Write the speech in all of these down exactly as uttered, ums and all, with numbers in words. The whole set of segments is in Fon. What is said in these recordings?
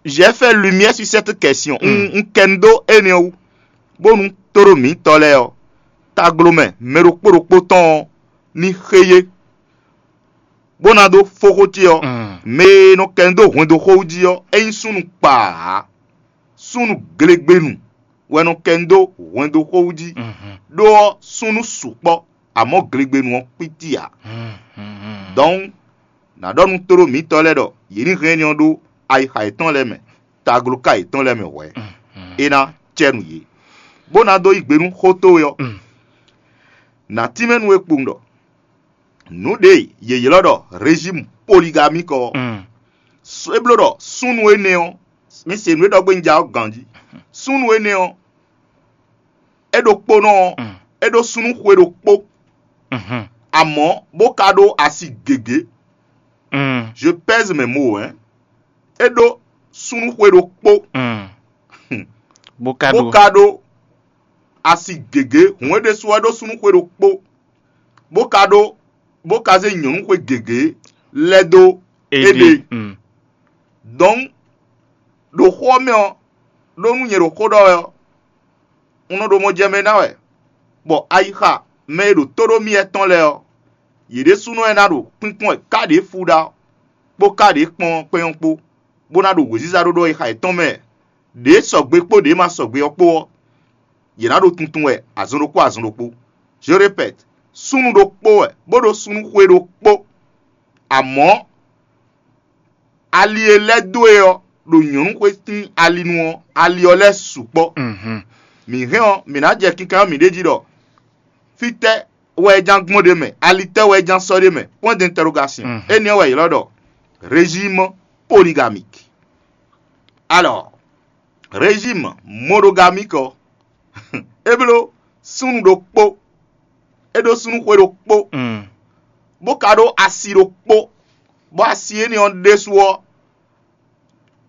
J'ai fait lumière sur cette question. Un, un kɛ nu dó énɛ́ wú, bónú tóɖó mǐtɔn lɛ́ɛ ɔ́, taglomɛ mɛ ɖokpó ɖokpó tɔn ɔ́ ní xé yé, bó ná dó fó xó ce ɔ́. Mɛ e nɔ kɛ nu dó hwɛndo xó wú jí ɔ́, é nyí súnnu kpaa ǎ. Súnnu glegbenu wɛ nɔ kɛ nu dó hwɛndo xó wú jí, ɖó ɔ́, súnnu sukpɔ́, amɔ̌ glegbenu ɔ́ kpítí ǎ. Dɔ̌n, nǎ ɖɔ nú tóɖó mǐtɔn lɛ́ɛ ɖɔ yě ní hɛn énɛ́ ɔ́ ɖó ayixa yětɔn lɛ́ɛ mɛ, tagloká yětɔn lɛ́ɛ mɛ hwɛ̌, é ná cɛ nú yě, bó ná dó yí gbe nú xó towe ɔ́. Nǎ tínmɛ nú we kpowun ɖɔ nǔ ɖě e yě ylɔ́ ɖɔ rejímu poligamík ɔ́, é bló ɖɔ súnnu énɛ́ ɔ́, mi se nǔ e ɖɔ gbé un ja ɔ́ ganjí. Súnnu énɛ́ ɔ́, é ɖokpónɔ ɔ́, é ɖó súnnu xwe ɖokpó, amɔ̌ bó ka ɖó asi gěgé. Je pèse mes mots, hein. É ɖó súnnu xwe ɖokpó, bó ka bó ɖó ka ɖó asi gěgé. Hǔn é ɖésú ɔ́, é ɖó súnnu xwe ɖokpó, bó ka ɖó bó ka zé nyɔ̌nu xwe gěgé lɛ́ dó éɖée. Dɔ̌n, ɖo xó ɔ́ mɛ ɔ́, ɖó nú nyɛ ɖo xó ɖɔ wɛ ɔ́, un nɔ ɖo mɔ jɛ mɛ ná wɛ, bɔ ayixa mɛ e ɖo tóɖómí lɛ́ɛ tɔn lɛ́ɛ ɔ́, yě ɖésúnɔ wɛ ná ɖo kpínkpɔ́n wɛ ká ɖě fú ɖa kpó ká ɖě kpɔ́n kpɛ́n ɔ́ kpó, bó ná ɖo wěziza ɖó ɖɔ e xa yětɔn mɛ, ɖě sɔgbe kpó ɖě ma sɔgbe ɔ́ kpó ɔ́, yě ná ɖo tuntun wɛ azɔn ɖokpó azɔn ɖokpó. Je répète, súnnu ɖokpó wɛ, bó ɖó súnnu xwe ɖokpó. Amɔ̌, ali e lɛ́ dó e ɔ́, ɖo nyɔ̌nu xwe sín ali nu ɔ́, ali ɔ́ lɛ́ sukpɔ́. Mǐ hɛn ɔ́, mǐ ná jɛ kinkan ɔ́ mǐ ɖ'é jí ɖɔ fítɛ́ wɛ é ján gbɔn ɖ'é mɛ, ali tɛ́ wɛ é ján sɔ́ ɖ'é mɛ? Point d'interrogation. Énɛ́ ɔ́ wɛ è ylɔ́ ɖɔ régime polygamique. Alors, régime monogamique ɔ́, é bló súnnu ɖokpó, é ɖó súnnu xwe ɖokpó, bó ka ɖó asi ɖokpó, bɔ asi énɛ́ ɔ́ ɖésú ɔ́,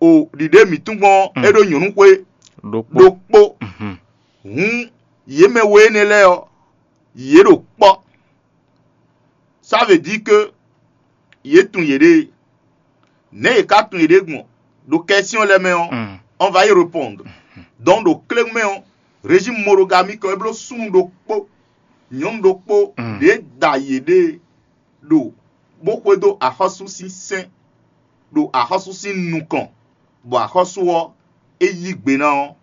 o ɖiɖe mǐtɔn gbɔn ɔ́, é ɖó nyɔ̌nu xwe ɖokpó. Ɖokpó. Hǔn, yě mɛ we énɛ́ lɛ́ɛ ɔ́, yě ɖo kpɔ́. Ça veut dire que yě tunwun yěɖée. Nɛ̌ yě ka tunwun yěɖée gbɔn? Ɖo kɛsyɔ́n lɛ́ɛ mɛ ɔ́, on va y répondre. Donc, ɖo kléwún mɛ ɔ́, régime monogamique ɔ́, é bló súnnu ɖokpó, nyɔ̌nu ɖokpó ɖě da yěɖée ɖo, bó xwedó axɔ́sú sín sɛ́n ɖo axɔ́sú sín nukɔn, bɔ axɔ́sú ɔ́, é yí gbe ná ɔ́,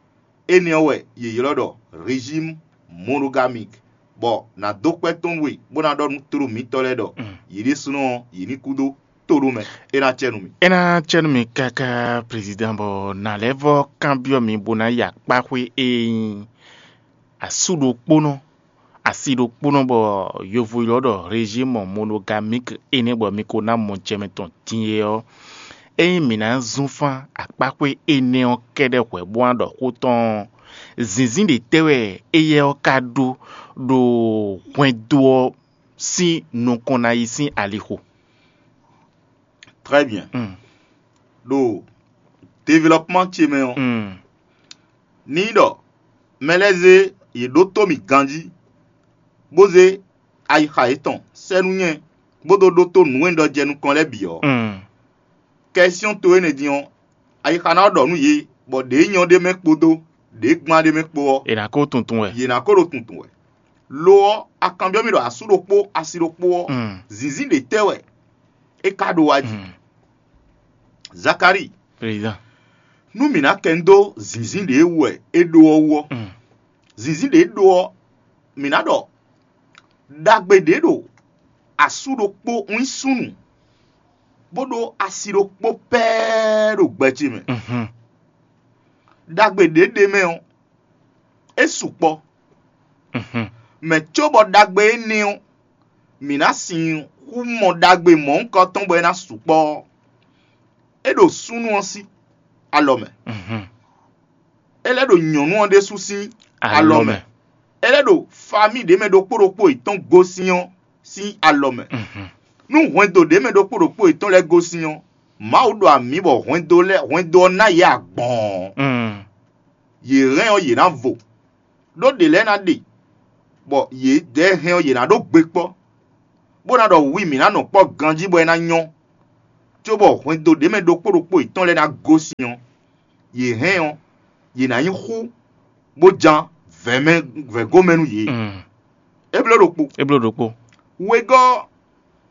énɛ́ ɔ́ wɛ yě ylɔ́ ɖɔ régime monogamique, bɔ nǎ dó kpɛ́ tɔn we, bó ná ɖɔ nú tló mǐtɔn lɛ́ɛ ɖɔ yě ɖésúnɔ ɔ́, yě ní kú dó tóɖó mɛ. É ná cɛ nú mì. É ná cɛ nú mì káká, président, bɔ nǎ lɛ́ vɔ́ kanbyɔ́ mi bó ná yi akpáxwé e nyí asú ɖokpónɔ, asi ɖokpónɔ, bɔ yovo ylɔ́ ɖɔ régime monogamique énɛ́, bɔ mi ko ná mɔ jɛ mitɔn din é ɔ́, ényí mǐ ná zún fán akpáxwé énɛ́ ɔ́ kɛ́ɖɛ́ hwɛ̌ bó ná ɖɔ xó tɔn ɔ́, zǐnzín ɖě tɛ́ wɛ éyɛ́ ɔ́ ka ɖó ɖo hwɛndo ɔ́ sín nukɔn ná yi sín alixo? Très bien. Ɖo développement ce mɛ ɔ́, ní ɖɔ mɛ lɛ́ɛ zé yě ɖótó mì ganjí, bó zé ayixa yětɔn sɛ́ nú nyɛ, bó dó ɖótó nǔ e un ɖɔ jɛ nukɔn lɛ́ɛ bǐ ɔ́, kɛsyɔ́n to énɛ́ din ɔ́, ayixa ná ɖɔ nú yě, bɔ ɖě nyɔ́ ɖ'é mɛ kpódó ɖě gban ɖ'é mɛ kpó ɔ́, è nǎ ko tuntun wɛ. Yě ná ko ɖo tuntun wɛ. Lo ɔ́, a kanbyɔ́ mì ɖɔ asú ɖokpó, asi ɖokpó ɔ́, zǐnzín ɖě tɛ́ wɛ é ka ɖó wá jí? Zakalíi, président, nú mǐ ná kɛ nu dó zǐnzín ɖě wú wɛ é ɖó ɔ́ wú ɔ́, zǐnzín ɖě ɖó ɔ́, mǐ ná ɖɔ ɖagbe ɖě ɖo asú ɖokpó nyí súnnu, bó ɖó asi ɖokpó pɛ́ɛ́ ɖo gbɛ ce mɛ. Ɖagbe ɖě ɖ'é mɛ ɔ́, é sukpɔ́. Mɛ cóbɔ ɖagbe énɛ́ ɔ́, mǐ ná sixú mɔ ɖagbe mɔ̌hunkɔtɔn bɔ é ná sukpɔ́ ɔ́, é ɖo súnnu ɔ́ sín alɔ mɛ. É lɛ́ ɖo nyɔ̌nu ɔ́ ɖésú sín alɔ mɛ. É lɛ́ ɖo famíi ɖě mɛ ɖokpó ɖokpó yětɔn gosín ɔ́ sín alɔ mɛ. Nú hwɛndo ɖě mɛ ɖokpó ɖokpó yětɔn lɛ́ɛ gosín ɔ́, Mawu ɖo amǐ bɔ hwɛndo lɛ́ɛ hwɛndo ɔ́ ná yě agbɔ̌ɔn. Yě hɛn ɔ́, yě ná vo, ɖó ɖě lɛ́ɛ ná ɖe, bɔ yědɛɛ hɛn ɔ́, yě ná ɖó gbe kpɔ́, bó ná ɖɔ wi mǐ ná nɔ kpɔ́ ganjí bɔ é ná nyɔ́, cóbɔ hwɛndo ɖě mɛ ɖokpó ɖokpó yětɔn lɛ́ɛ ná gosín ɔ́, yě hɛn ɔ́, yě ná nyí xú bó jan vɛ̌mɛ vɛ̌gomɛ nú yě. Mm. É bló ɖokpó. É bló ɖokpó. Wegɔ́,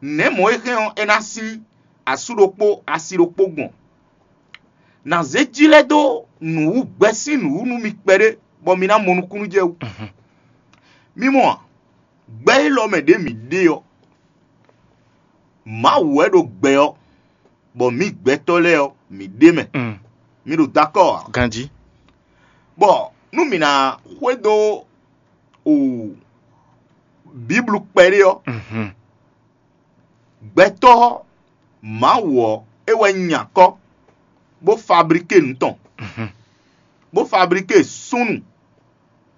nɛ̌ mɔ̌ e hɛn ɔ́, é ná sín asú ɖokpó asi ɖokpó gbɔn? Nǎ zé jí lɛ́ dó nǔ wú gbɛ sín nǔ wú nú mi kpɛɖé, bɔ mi ná mɔ nukúnnú jɛ wú. Mhm. Mi mɔ a? Gbɛ élɔ́ mɛ ɖě mǐ ɖe ɔ́, Mawu wɛ ɖo gbɛ ɔ́, bɔ mǐ gbɛtɔ́ lɛ́ɛ ɔ́, mǐ ɖ'é mɛ. Mm. Mi ɖo dakɔ́ ǎ. Ganjí. Bɔ nú mǐ ná xwedó o Bíblu kpɛɖé ɔ́, Mhm. Gbɛtɔ́ Mawu ɔ́, é wɛ nya akɔ́, bó fablíké nǔ tɔn, Mhm. bó fablíké súnnu,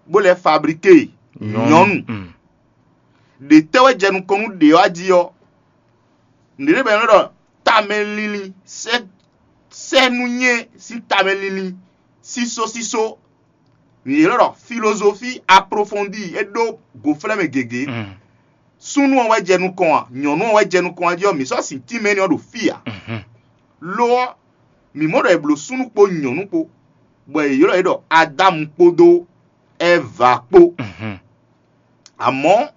bó lɛ́ fablíké Nyɔ̌nu. nyɔ̌nu. Mm. Ɖě tɛ́ wɛ jɛ nukɔn nú ɖě ɔ́ jí ɔ́? Nǔɖé bɔ è nɔ ɖɔ tamɛ linlin, sɛ́ sɛ́ nú nyɛ sín tamɛ linlin, sísó sísó. Mǐ ylɔ́ ɖɔ filozofí aplofondi, é ɖó gǒflɛ́ mɛ gěgé. Mm. Súnnu ɔ́ wɛ jɛ nukɔn a? Nyɔ̌nu ɔ́ wɛ jɛ nukɔn a jí ɔ́, mǐ sɔ́ sin tínmɛ énɛ́ ɔ́ ɖo fí ǎ. Lo ɔ́, mǐ mɔ ɖɔ è blǒ súnnu kpó nyɔ̌nu kpó, bɔ è ylɔ́ yě ɖɔ Adámu kpódó Ɛva kpó. Mhm. Amɔ̌,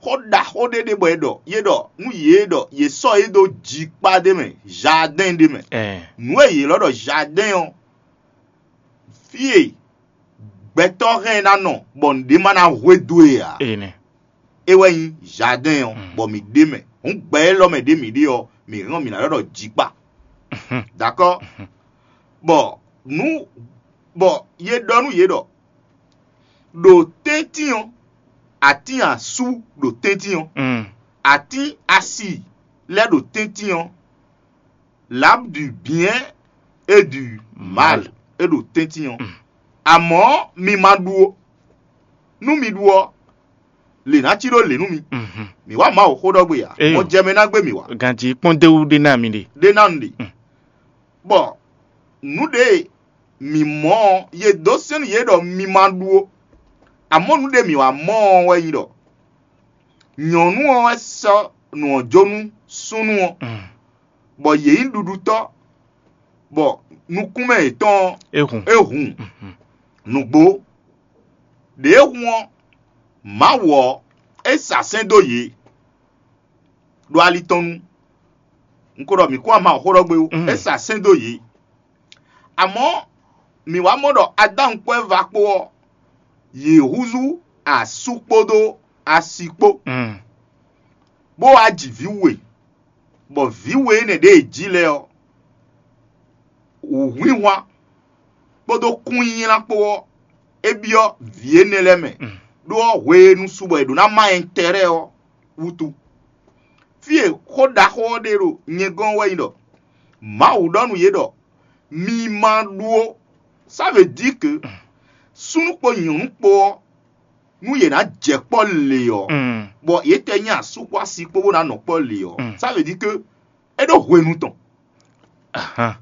xó ɖaxó ɖé ɖe bɔ è ɖɔ, yě ɖɔ nú yě ɖɔ yě sɔ́ yě ɖó jikpá ɖé mɛ, jardɛ́n ɖé mɛ. Ɛɛ. Nǔ e yě ylɔ́ ɖɔ jardɛ́n ɔ́, fí e gbɛtɔ́ hɛn ná nɔ bɔ nǔɖé ma ná hwedó e ǎ. Ene. É wɛ nyí jardɛ́n ɔ́, Mm. bɔ mǐ ɖ'é mɛ. Hǔn gbɛ élɔ́ mɛ ɖě mǐ ɖe ɔ́, mǐ hɛn ɔ́, mǐ ná ɖɔ ɖɔ jikpá. Mhm. Dakɔ́? Mhm. Bɔ nú bɔ yě ɖɔ nú yě ɖɔ ɖo tɛ́ntin ɔ́, atín asú ɖo tɛ́ntin ɔ́, Mm. atín asi lɛ́ɛ ɖo tɛ́ntin ɔ́, l'arbre du bien et du mal é ɖo tɛ́ntin ɔ́. Mm. Amɔ̌ mi ma ɖu ó. Nú mi ɖu ɔ́, lě ná cí ɖó lě nú mi. Mhm. Mǐ wá Mawu xó ɖɔ gbe ǎ. Eyo. Mɔ jɛ mɛ ná gbé mǐ wá. Ganjí kpɔ́n déwú ɖé ná mi ɖe. Ɖé ná un ɖe. Mm. Bɔ nǔ ɖé e mǐ mɔ ɔ́, yě dó sɛ́n nú yě ɖɔ mi ma ɖu ó. Amɔ̌ nǔ ɖé mǐ wá mɔ ɔ́ wɛ nyí ɖɔ nyɔ̌nu ɔ́ wɛ sɔ́ nǔ ɔ́ jó nú súnnu ɔ́, Mm. bɔ yě nyí ɖuɖutɔ́, bɔ nukúnmɛ yětɔn ɔ́, É hun. é hun. Mhm. Nǔgbó. Đěe hun ɔ́, Mawu ɔ́, é sa sɛ́n dó yě ɖo ali tɔn nu. Un ko ɖɔ mǐ kún wá Mawu xó ɖɔ gbé ó. Mm. É sa sɛ́n dó yě. Amɔ̌, mǐ wá mɔ ɖɔ Adámu kpó Ɛva kpó ɔ́, yě húzú asú kpódó asi kpó, Mm. bó wá ji vǐ we, bɔ vǐ we énɛ́ ɖě e jí lɛ́ɛ ɔ́, wǔhwinhwan kpódó kúnnylán kpó ɔ́, é byɔ́ vǐ énɛ́ lɛ́ɛ mɛ, Mm. ɖó ɔ́ hwenu su bɔ è ɖǒ ná má ɛntɛ́rɛ́ ɔ́ wútu. Fí e xó ɖaxó ɔ́ ɖe ɖo nyɛ gɔ́n wɛ nyí ɖɔ Mawu ɖɔ nú yě ɖɔ: "Mi ma ɖu ó." Ça veut dire que súnnu kpó nyɔ̌nu kpó ɔ́, nú yě ná jɛ kpɔ́ lě ɔ́, Mm. bɔ yě tɛ nyí asú kpó asi kpó bó ná nɔ kpɔ́ lě ɔ́, Mm. ça veut dire que é ɖó hwenu tɔn. Ahan.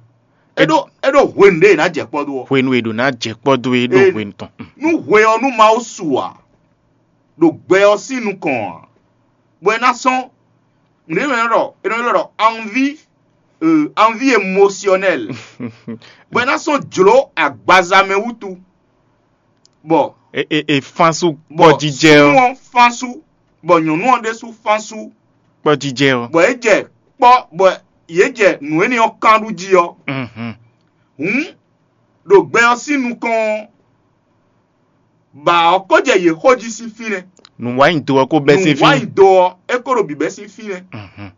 É ɖó é ɖó hwenu ɖé è nǎ jɛ kpɔ́ dó ɔ́. Hwenu e ɖǒ ná jɛ kpɔ́ dó é ɖó Ee. hwenu tɔn. Mm. Nú hwe ɔ́ nú Mawu su ǎ, ɖo gbɛ ɔ́ sín nukɔn ǎ, bɔ é ná sɔ́n nǔɖé e nɔ ylɔ́ ɖɔ, è nɔ ylɔ́ ɖɔ anvi, euh, anvi émotionnelle, bɔ é ná sɔ́n jlǒ agbaza mɛ wútu, bɔ E e e fánsu bɔ kpɔ́jijɛ súnnu ɔ́. ɔ́ fán sú, bɔ nyɔ̌nu ɔ́ ɖésú fán sú, Kpɔ́jijɛ ɔ́. bɔ é jɛ kpɔ́, bɔ yě jɛ nǔ énɛ́ ɔ́ kán ɖu jí ɔ́, Mhm. hǔn ɖo gbɛ ɔ́ sín nukɔn ɔ́, ba ɔ́ ko jɛ yě xó jí sín fínɛ́. Nǔwanyido ɔ́ ko bɛ́ sín fí. Nǔwanyido ɔ́, é ko ɖo bǐbɛ́ sín fínɛ́. Mhm.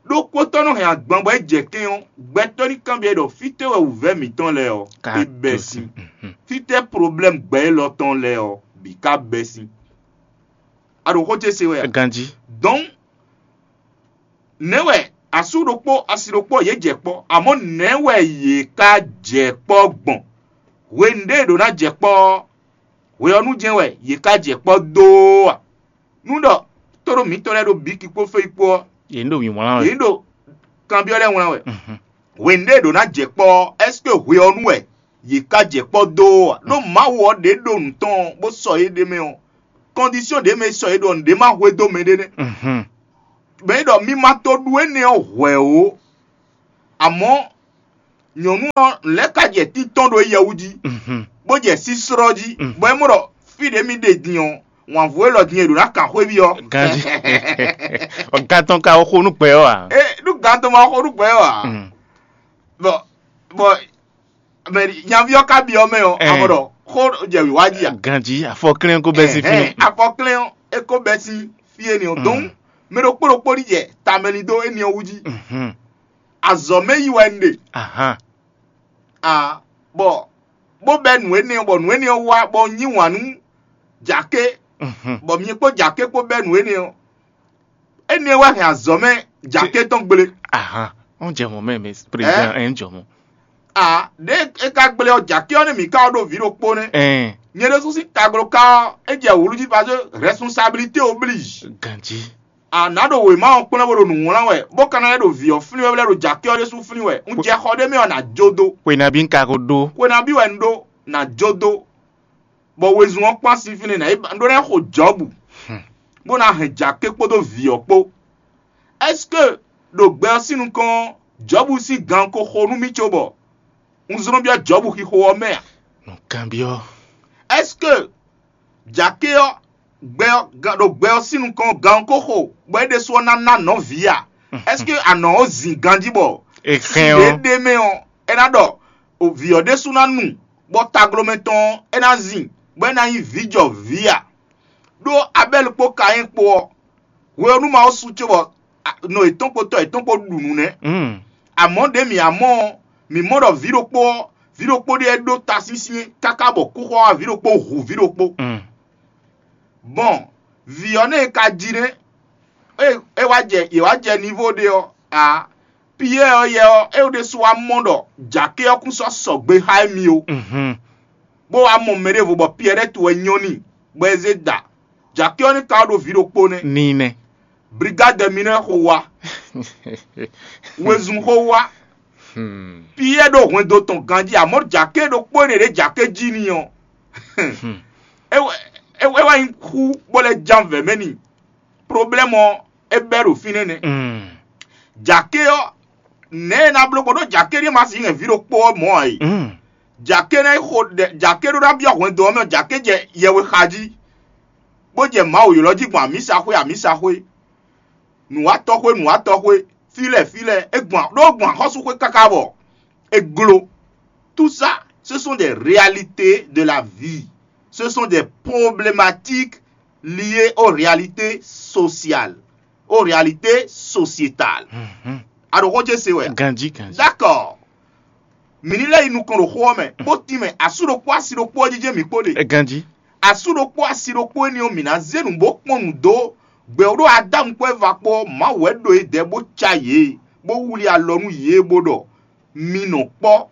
Ɖó kpótɔ́ nɔ hɛn agban bɔ é jɛ kɛ́n ɔ́, gbɛtɔ́ ní kanbyɔ́ ɖɔ fítɛ́ wɛ wǔvɛ́ mǐtɔn lɛ́ɛ ɔ́, Ka é bɛ́ dó sín. Mhm. Fítɛ́ problème gbɛ élɔ́ tɔn lɛ́ɛ ɔ́, bǐ ka bɛ́ sín. A ɖo xó ce se wɛ a? Ganjí. Donc, nɛ̌ wɛ asú ɖokpó asi ɖokpó yě jɛ kpɔ́, amɔ̌ nɛ̌ wɛ yě ka jɛ kpɔ́ gbɔn? Hwenu ɖé è ɖǒ ná jɛ kpɔ́ ɔ́, hwe ɔ́ nu jɛ́n wɛ yě ka jɛ kpɔ́ dó a? Nú ɖɔ tóɖó mǐtɔn lɛ́ɛ ɖo bǐki kpó fé kpó ɔ́, Yě ní ɖo wǐnwlán wɛ. Yě ní ɖo kanbyɔ́ lɛ́ɛ wlán wɛ. Mhm. Hwenu ɖé è ɖǒ ná jɛ kpɔ́ ɔ́, est-ce que hwe ɔ́ nu wɛ yě ka jɛ kpɔ́ dó ɔ́ a? Ɖó Mawu ɔ́ ɖě ɖo nǔ tɔn ɔ́, bó sɔ yě ɖ'é mɛ ɔ́, condition ɖě mɛ e sɔ yě ɖo ɔ́, nǔɖé ma hwedó mɛɖé nɛ́. Mhm. Mɛ e ɖɔ mi ma to ɖu énɛ́ ɔ́ hwɛ̌ ó, amɔ̌ Nyɔ̌nu ɔ́ lɛ́ ka jɛ títɔn ɖo éyɛwú jí, bó jɛ síslɔ́ jí, bɔ é mɔ ɖɔ fí ɖě mì ɖe din ɔ́, wǎnvú élɔ́ din e ɖǒ ná kan xwéví ɔ́. Ganjí. Ɔ, gan tɔn ka xo nú gbɛ ɔ́ ǎ. É ɖú gan tɔn ma xo nú gbɛ ɔ́ ǎ. Bɔ bɔ mɛ nyaví ɔ́ ka byɔ́ mɛ ɔ́, amɔ ɖɔ xó jɛ wǐwá jí a? Ganjí, afɔklɛ́n ko bɛ́ sín fí. Afɔklɛ́n ɔ́, é ko bɛ́ sín fí énɛ́ ɔ́. Dɔn mɛ ɖokpó ɖokpó ní jɛ tamɛ ní dó énɛ́ ɔ́ wú jí. Azɔ̌ mɛ yí wɛ un ɖe. Ahan. A bɔ bó bɛ́ nǔ énɛ́ ɔ́, bɔ nǔ énɛ́ ɔ́ wá bɔ un yí wǎn nú jǎké, bɔ mi kpó jǎké kpó bɛ́ nǔ énɛ́ ɔ́. Énɛ́ wɛ hɛn azɔ̌ mɛ jǎké tɔn gblé. Ahan. Ɔ́n jɛ mɔ̌ mɛ, mɛ président, ɛn jɔ mɔ̌. A ɖě é ka gblé ɔ́, jǎké ɔ́ nɛ́ mǐ ka ɔ́ ɖo vǐ ɖokpó nɛ́. Ɛn. Nyɛ ɖésú sín tagló ka ɔ́, é jɛ wǔlú jí parce que responsabilité oblige. Ganjí. A nǎ ɖo wěma ɔ́ kplɔ́n bó ɖo nǔ wlán wɛ, bó ka ná lɛ́ ɖo vǐ ɔ́ flín wɛ, bó lɛ́ ɖo jǎké ɔ́ ɖésú flín wɛ. Un jɛ xɔ ɖé mɛ ɔ́, nǎ jó dó. Xwe nabí un ka ko ɖó? Xwe nabí wɛ un ɖó, nǎ jó dó. Bɔ wezun ɔ́ kpán sín fínɛ́ ná yi ba ɖó ná xo Jɔ̌bu, bó ná hɛn jǎké kpódó vǐ ɔ́ kpó. Est-ce que ɖo gbɛ ɔ́ sín nukɔn ɔ́, Jɔ̌bu sín gan ko xo nú mì cóbɔ un zlɔ́n byɔ́ Jɔ̌bu xixo ɔ́ mɛ a? Nǔkanbyɔ́. Est-ce que jǎké ɔ́ gbɛ ɔ́ gan ɖo gbɛ ɔ́ sín nukɔn ɔ́, gan ɔ́ ko xo bɔ é ɖésú ɔ́ ná ná nɔ̌ vǐ a? Est-ce que anɔ̌ ɔ́ zin ganjí bɔ é hɛn ɔ́, ɖé mɛ ɔ́, é ná ɖɔ vǐ ɔ́ ɖésú ná nu, bɔ taglomɛ tɔn ɔ́, é ná zin, bɔ é ná nyí vǐ jɔ vǐ a? Ɖó Abɛ́li kpó Kayɛ́n kpó ɔ́, hwe ɔ́ nú Mawu sú cóbɔ nɔ yětɔn kpó tɔ yětɔn kpó ɖu nǔ nɛ́. Amɔ̌ ɖě mǐ wá mɔ ɔ́, mǐ mɔ ɖɔ vǐ ɖokpó ɔ́, vǐ ɖokpó ɖíe ɖó tasyɛ́nsyɛ́n káká bɔ kúxɔ wá vǐ ɖokpó hu vǐ ɖokpó. Gbɔn vǐ ɔ́ nɛ́ e ka jí nɛ́, é wá jɛ yě wá jɛ nivo ɖé ɔ́ ǎ. Piyɛ́ɛ ɔ́ yɛ ɔ́, é ɖésú wá mɔ ɖɔ jǎké ɔ́ kún sɔ́ sɔgbe xá émí ó, bó wá mɔ mɛ ɖěvo bɔ Piyɛ́ɛ lɛ́ tu wɛ nyɔ́ n'i, bɔ é zé da. Jǎké ɔ́ ní ka wá ɖo vǐ ɖokpó nɛ́. Ni nɛ. Brigade mineur xo wá. Wezun xo wá. Piyɛ́ɛ ɖo hwɛndo tɔn ganjí, amɔ̌ jǎké ɖokpó énɛ́ ɖě jǎké jí n'i ɔ́, é wɛ é wɛ é wɛ nyí xú bó lɛ́ ján vɛ̌ mɛ n'i. Problème ɔ́, é bɛ́ ɖo fínɛ́ nɛ́. Jǎké ɔ́, nɛ̌ e ná bló gbɔn ɖó jǎké ɖíe ma sixú hɛn vǐ ɖokpó ɔ́ mɔ̌ ǎ é? Jǎké ná yi xo ɖɛ jǎké ɖó ná byɔ́ hwɛndo ɔ́ mɛ, jǎké jɛ yɛwe xa jí, bó jɛ Mawu ylɔ́ jí gbɔn amǐsaxwé amǐsaxwé, nǔwatɔ́xwé nǔwatɔ́xwé, fí lɛ́ɛ fí lɛ́ɛ, é gbɔn ɖó gbɔn axɔ́súxwé káká bɔ é gló. Tout ça, ce sont des réalités de la vie. Ce sont des problématiques liées aux réalités sociales, aux réalités sociétales. A ɖo xó ce se wɛ? Ganjí, ganjí. D'accord. Mǐ ní lɛ́ yi nukɔn ɖo xó ɔ́ mɛ, bó tín mɛ asú ɖokpó asi ɖokpó ɔ́ jijɛ mǐ kpó ɖe. Ganjí. Asú ɖokpó asi ɖokpó énɛ́ ɔ́, mǐ ná zé nǔ bó kpɔ́n nǔ dó gbɛ ɖó Adámu kpó Ɛva kpó ɔ́, Mawu wɛ ɖo yědɛɛ bó cá yě, bó wlí alɔ nú yě, bó ɖɔ: Mi nɔ kpɔ́,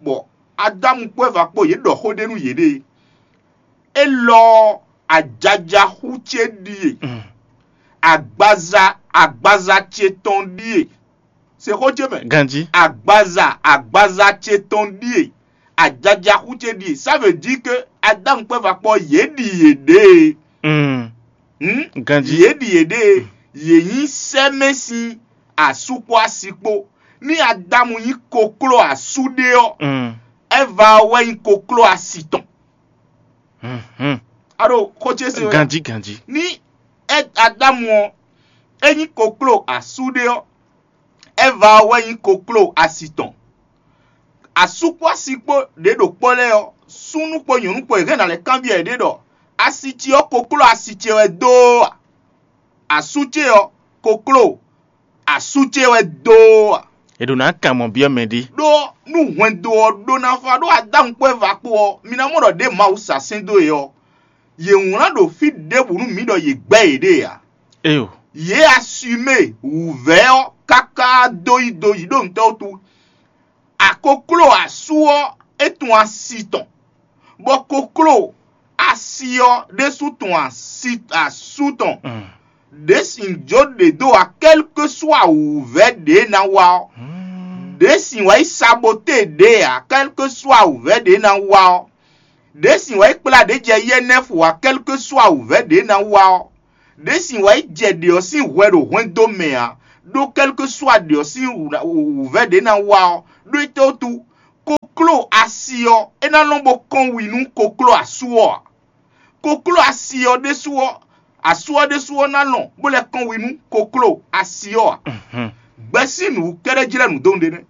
bɔ Adámu kpó Ɛva kpó yě ɖɔ xó ɖé nú yěɖée. Élɔ́ ɔ́, ajaja xú ce ɖíe, agbaza agbaza ce tɔn ɖíe. Se xó ce mɛ. Ganjí. Agbaza agbaza ce tɔn ɖíe, ajaja xú ce ɖíe. Ça veut dire que Adámu kpó Ɛva kpó ɔ́, yě ɖi yěɖée. Mm. Hmm? Ganjí. Yě ɖi yěɖée, yě nyí sɛ́mɛ sín asú kpó asi kpó. Ní Adámu nyí kokló asú ɖé ɔ́, Mm. Ɛva ɔ́ wɛ nyí kokló asi tɔn. Mhm. A ɖo xó ce se wɛ? Ganjí, ganjí. Ní Ɛ- Adámu ɔ́, é nyí kokló asú ɖé ɔ́, Ɛva ɔ́ wɛ nyí kokló asi tɔn. Asú kpó asi kpó ɖě ɖo kpɔ́ lɛ́ɛ ɔ́, súnnu kpó nyɔ̌nu kpó yě hɛn ná lɛ́ kanbyɔ́ yěɖée ɖɔ: Asi ce ɔ́, kokló asi ce wɛ dó a? Asú ce ɔ́, kokló asú ce wɛ dó a? È ɖǒ ná kan mɔ byɔ́ mɛ ɖé. Ɖó nú hwɛndo ɔ́ ɖó ná fá ɖó Adámu kpó Ɛva kpó ɔ́, mi ná mɔ ɖɔ ɖěe Mawu sa sɛ́n dó yě ɔ́, yě wlán ɖo fí ɖěbǔ nú mǐ ɖɔ yě gbɛ́ yěɖée ǎ. Éyo. Yě asumé wǔvɛ́ ɔ́ káká dó yi do yi ɖó ntɔ́ wútu. Akokló asú ɔ́, é tunwun asi tɔn, bɔ kokló asi ɔ́ ɖésú tunwun asi asú tɔn. Mm. Ɖě sin jó ɖě dó ǎ, kɛ́lkesúa wǔvɛ́ ɖě ná wa ɔ́. Mm. Ɖě sin wɛ yi saboté ɖě ǎ, kɛ́lkesúa wǔvɛ́ ɖě ná wa ɔ́. Ɖě sin wɛ yi kplá ɖě jɛ yɛ́nɛ́fu ǎ, kɛ́lkesúa wǔvɛ́ ɖě ná wa ɔ́. Ɖě sin wɛ yi jɛ ɖě ɔ́ sín hwɛ ɖo hwɛndo mɛ ǎ, ɖó kɛ́lkesúa ɖě ɔ́ sín wǔvɛ́ ɖě ná wa ɔ́, ɖó étɛ́ wútu? ɔ́, é ná lɔn bó kɔn wi nú kokló asú ɔ́ ǎ. Kokló asi ɔ́ ɖésú ɔ́, asú ɔ́ ɖésú ɔ́ ná lɔn bó lɛ́ kɔn wi nú kokló asi ɔ́ ǎ. Gbɛ̌ sín nǔ kɛ́ɖɛ́ jlɛ́ nǔ dó nǔɖé nɛ́.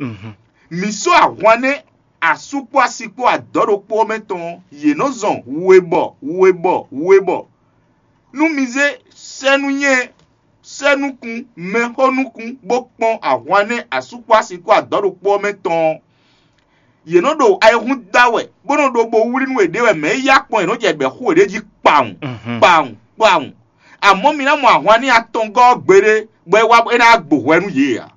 Mǐ sɔ́ ahwan nɛ́ asú kpó asi kpó adɔ̌ ɖokpó ɔ́ mɛ tɔn ɔ́, yě nɔ zɔn webɔ webɔ webɔ. Nú mi zé sɛ́núnyɛ sɛ́núkún mɛxónúkún bó kpɔ́n ahwan nɛ́ asú kpó asi kpó adɔ̌ ɖokpó ɔ́ mɛ tɔn ɔ́, yě nɔ ɖo ayihún da wɛ, bó nɔ ɖo bo wlí nú yěɖée wɛ mɛ̌ yá kpɔ́n yě nɔ jɛ ɖɛ̌ xú yěɖée jí kpawun kpawun kpawun. Amɔ̌ mi ná mɔ ahwan nɛ́ atɔngɔ́ ɔ́ gbeɖé, bɔ é wá é ná gbo hwɛ nú yě ǎ.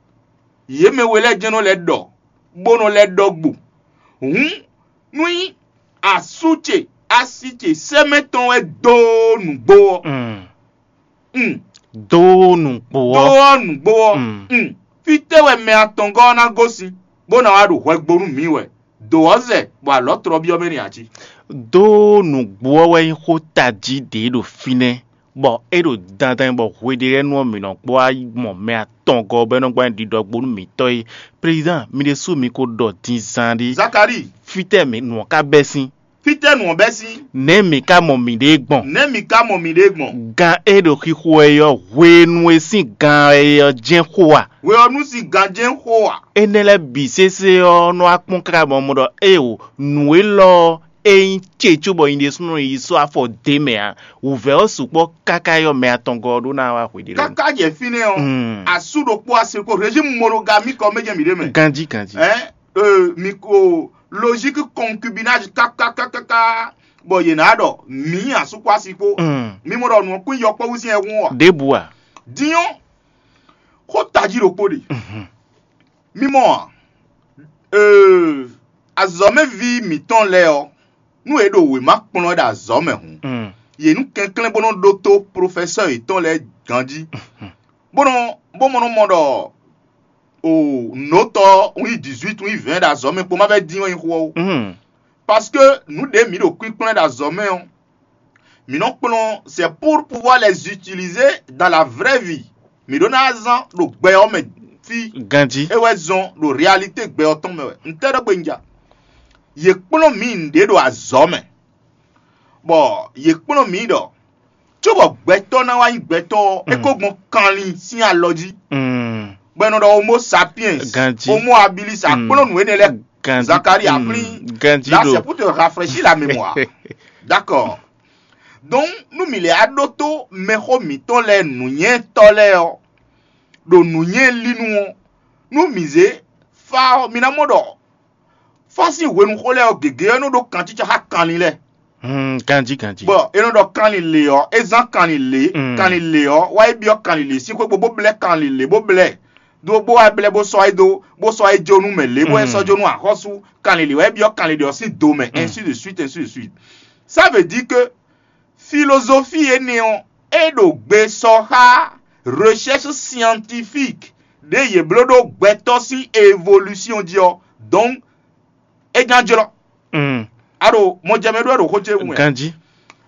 Yě mɛ we lɛ́ɛ jɛ́n nɔ lɛ́ ɖɔ, bó nɔ lɛ́ ɖɔ gbo. Hǔn, nú nyí asú ce, asi ce sɛ́mɛ tɔn wɛ dó nǔgbó ɔ́, un, dó nǔgbó dó ɔ́. Ɔ́ nǔgbó ɔ́, un, fítɛ́ wɛ mɛ atɔngɔ́ ɔ́ ná gosín, bó ná wá ɖo hwɛ gbo nú mǐ wɛ? Dǒ ɔ́ zɛ, bɔ alɔ̌ tlɔ́byɔ́ mɛ n'i ǎ cí. Dó nǔgbó ɔ́ wɛ nyí xó tají ɖě ɖo fínɛ́, bɔ é ɖo dandan bɔ hweɖélɛ́nu ɔ́ mǐ nɔ kpó wá mɔ mɛ atɔngɔ́ bɔ é nɔ gbɔn ɖiɖɔgbónú mǐtɔn é. Président, mi ɖésú mi ko ɖɔ din zán ɖé. Zakalíi, Fítɛ́ mi nǔ ɔ́ ka bɛ́ sín? fítɛ́ nǔ ɔ́ bɛ́ sín? Nɛ̌ mi ka mɔ miɖée gbɔn? Nɛ̌ mi ka mɔ miɖée gbɔn? Gan e ɖo xixo wɛ é ɔ́, hwenu e sín gan wɛ é ɔ́ jɛ́n xo a? Hwe ɔ́ nú sin ganjɛ́n xo a? Énɛ́ lɛ́ɛ bǐ sésé ɔ́ nɔ wá kpɔ́n káká bɔ mɔ ɖɔ éeǒ, nǔ élɔ́ ɔ́, é nyí ce cóbɔ nyi ɖésúnɔ yi sɔ́ afɔ dě mɛ ǎ. Wǔvɛ́ ɔ́ sukpɔ́ káká yɔ mɛ atɔngɔ́ ɔ́ ɖó ná wá hweɖé lɛ́ɛ. Káká jɛ fínɛ́ ɔ́, Mm. asú ɖokpó asi ko régime monogamie kɔ mɛ jɛ mǐ ɖé mɛ. Ganjí ganjí. Ɛn, euh, mi ko logique concubinage kákákákáká, bɔ yě ná ɖɔ mǐ asú kpó asi kpó. Mm. Mi mɔ ɖɔ nǔ ɔ́ kún yɔkpɔ́vú sín ɛhún ɔ́ a? Ɖěbǔ a? Din ɔ́, xó tají ɖokpó ɖe. Mi mɔ a? Ee, azɔ̌mɛví mǐtɔn lɛ́ɛ ɔ́, nú yě ɖo wěma kplɔ́n wɛ ɖo azɔ̌ mɛ hǔn, Mm. yě nú kɛnklɛ́n bó nɔ́ ɖótó profɛsɛ́ yětɔn lɛ́ɛ ganjí, bó nɔ bó mɔ nɔ mɔ ɖɔ o nǒtɔ un yi dix-huit un yi vingt ɖo azɔ̌ mɛ kpó má vɛ́ dín wɛ nyí xó ɔ́ ó. Mm. Parce que nǔ ɖě mǐ ɖo kpínkplɔ́n ɖo azɔ̌ mɛ ɔ́, mǐ nɔ kplɔ́n c'est pour pouvoir les utiliser dans la vraie vie. Mǐ ɖó ná zán ɖo gbɛ ɔ́ mɛ fí. Ganjí. É wɛ zɔn ɖo réalité gbɛ ɔ́ tɔn mɛ wɛ. Ntɛ́ ɖɔ gbe un ja? Yě kplɔ́n mǐ nǔɖé ɖo azɔ̌ mɛ, bɔ yě kplɔ́n mǐ ɖɔ cóbɔ gbɛtɔ́ ná wá nyí gbɛtɔ́ ɔ́, é ko gbɔn kanlin sín alɔ jí, Mm. bɔ è nɔ ɖɔ homo sapiens, Ganjí. Homo habilis, a kplɔ́n nǔ énɛ́ lɛ́ɛ. Ganjí. Zakari a Mm. plín. Ganjí Là, ɖo. C'est pour te rafraîchir la mémoire. D'accord. Donc, nú mi lɛ́ á ɖótó mɛxó mǐtɔn lɛ́ɛ nǔnywɛ́tɔ́ lɛ́ɛ ɔ́, ɖo nǔnywɛ́ lí nu ɔ́, nú mǐ zé fá ɔ́, mi ná mɔ ɖɔ fá sín hwenuxó lɛ́ɛ ɔ́ gěgé ɔ́ nɔ ɖó kancíca xá kanlin lɛ́ɛ. Mm, ganjí ganjí. Bɔ è nɔ ɖɔ kanlin lě ɔ́, é zán kanlin lě, Mm. kanlin lě ɔ́ wá yi byɔ́ kanlin lě sín xwé gbe bó blɛ́ kanlin lě bó blɛ́, ɖó bó wá blɛ́ bó sɔ́ é dó bó sɔ́ é jó nú mɛ lě bó wá Mm. sɔ́ jó nú axɔ́sú kanlin lě wá yi byɔ́ kanlin lě ɔ́ sín do mɛ, ainsi de suite, ainsi de suite. Ça veut dire que philosophie énɛ́ ɔ́, é ɖo gbe sɔ xá recherche scientifique ɖě yě bló ɖó gbɛtɔ́ sín évolution jí ɔ́, donc é ján jlɔ́. Mm. A ɖo mɔjɛmɛ ɖó wɛ ɖo xó ce wú wɛ. Ganjí.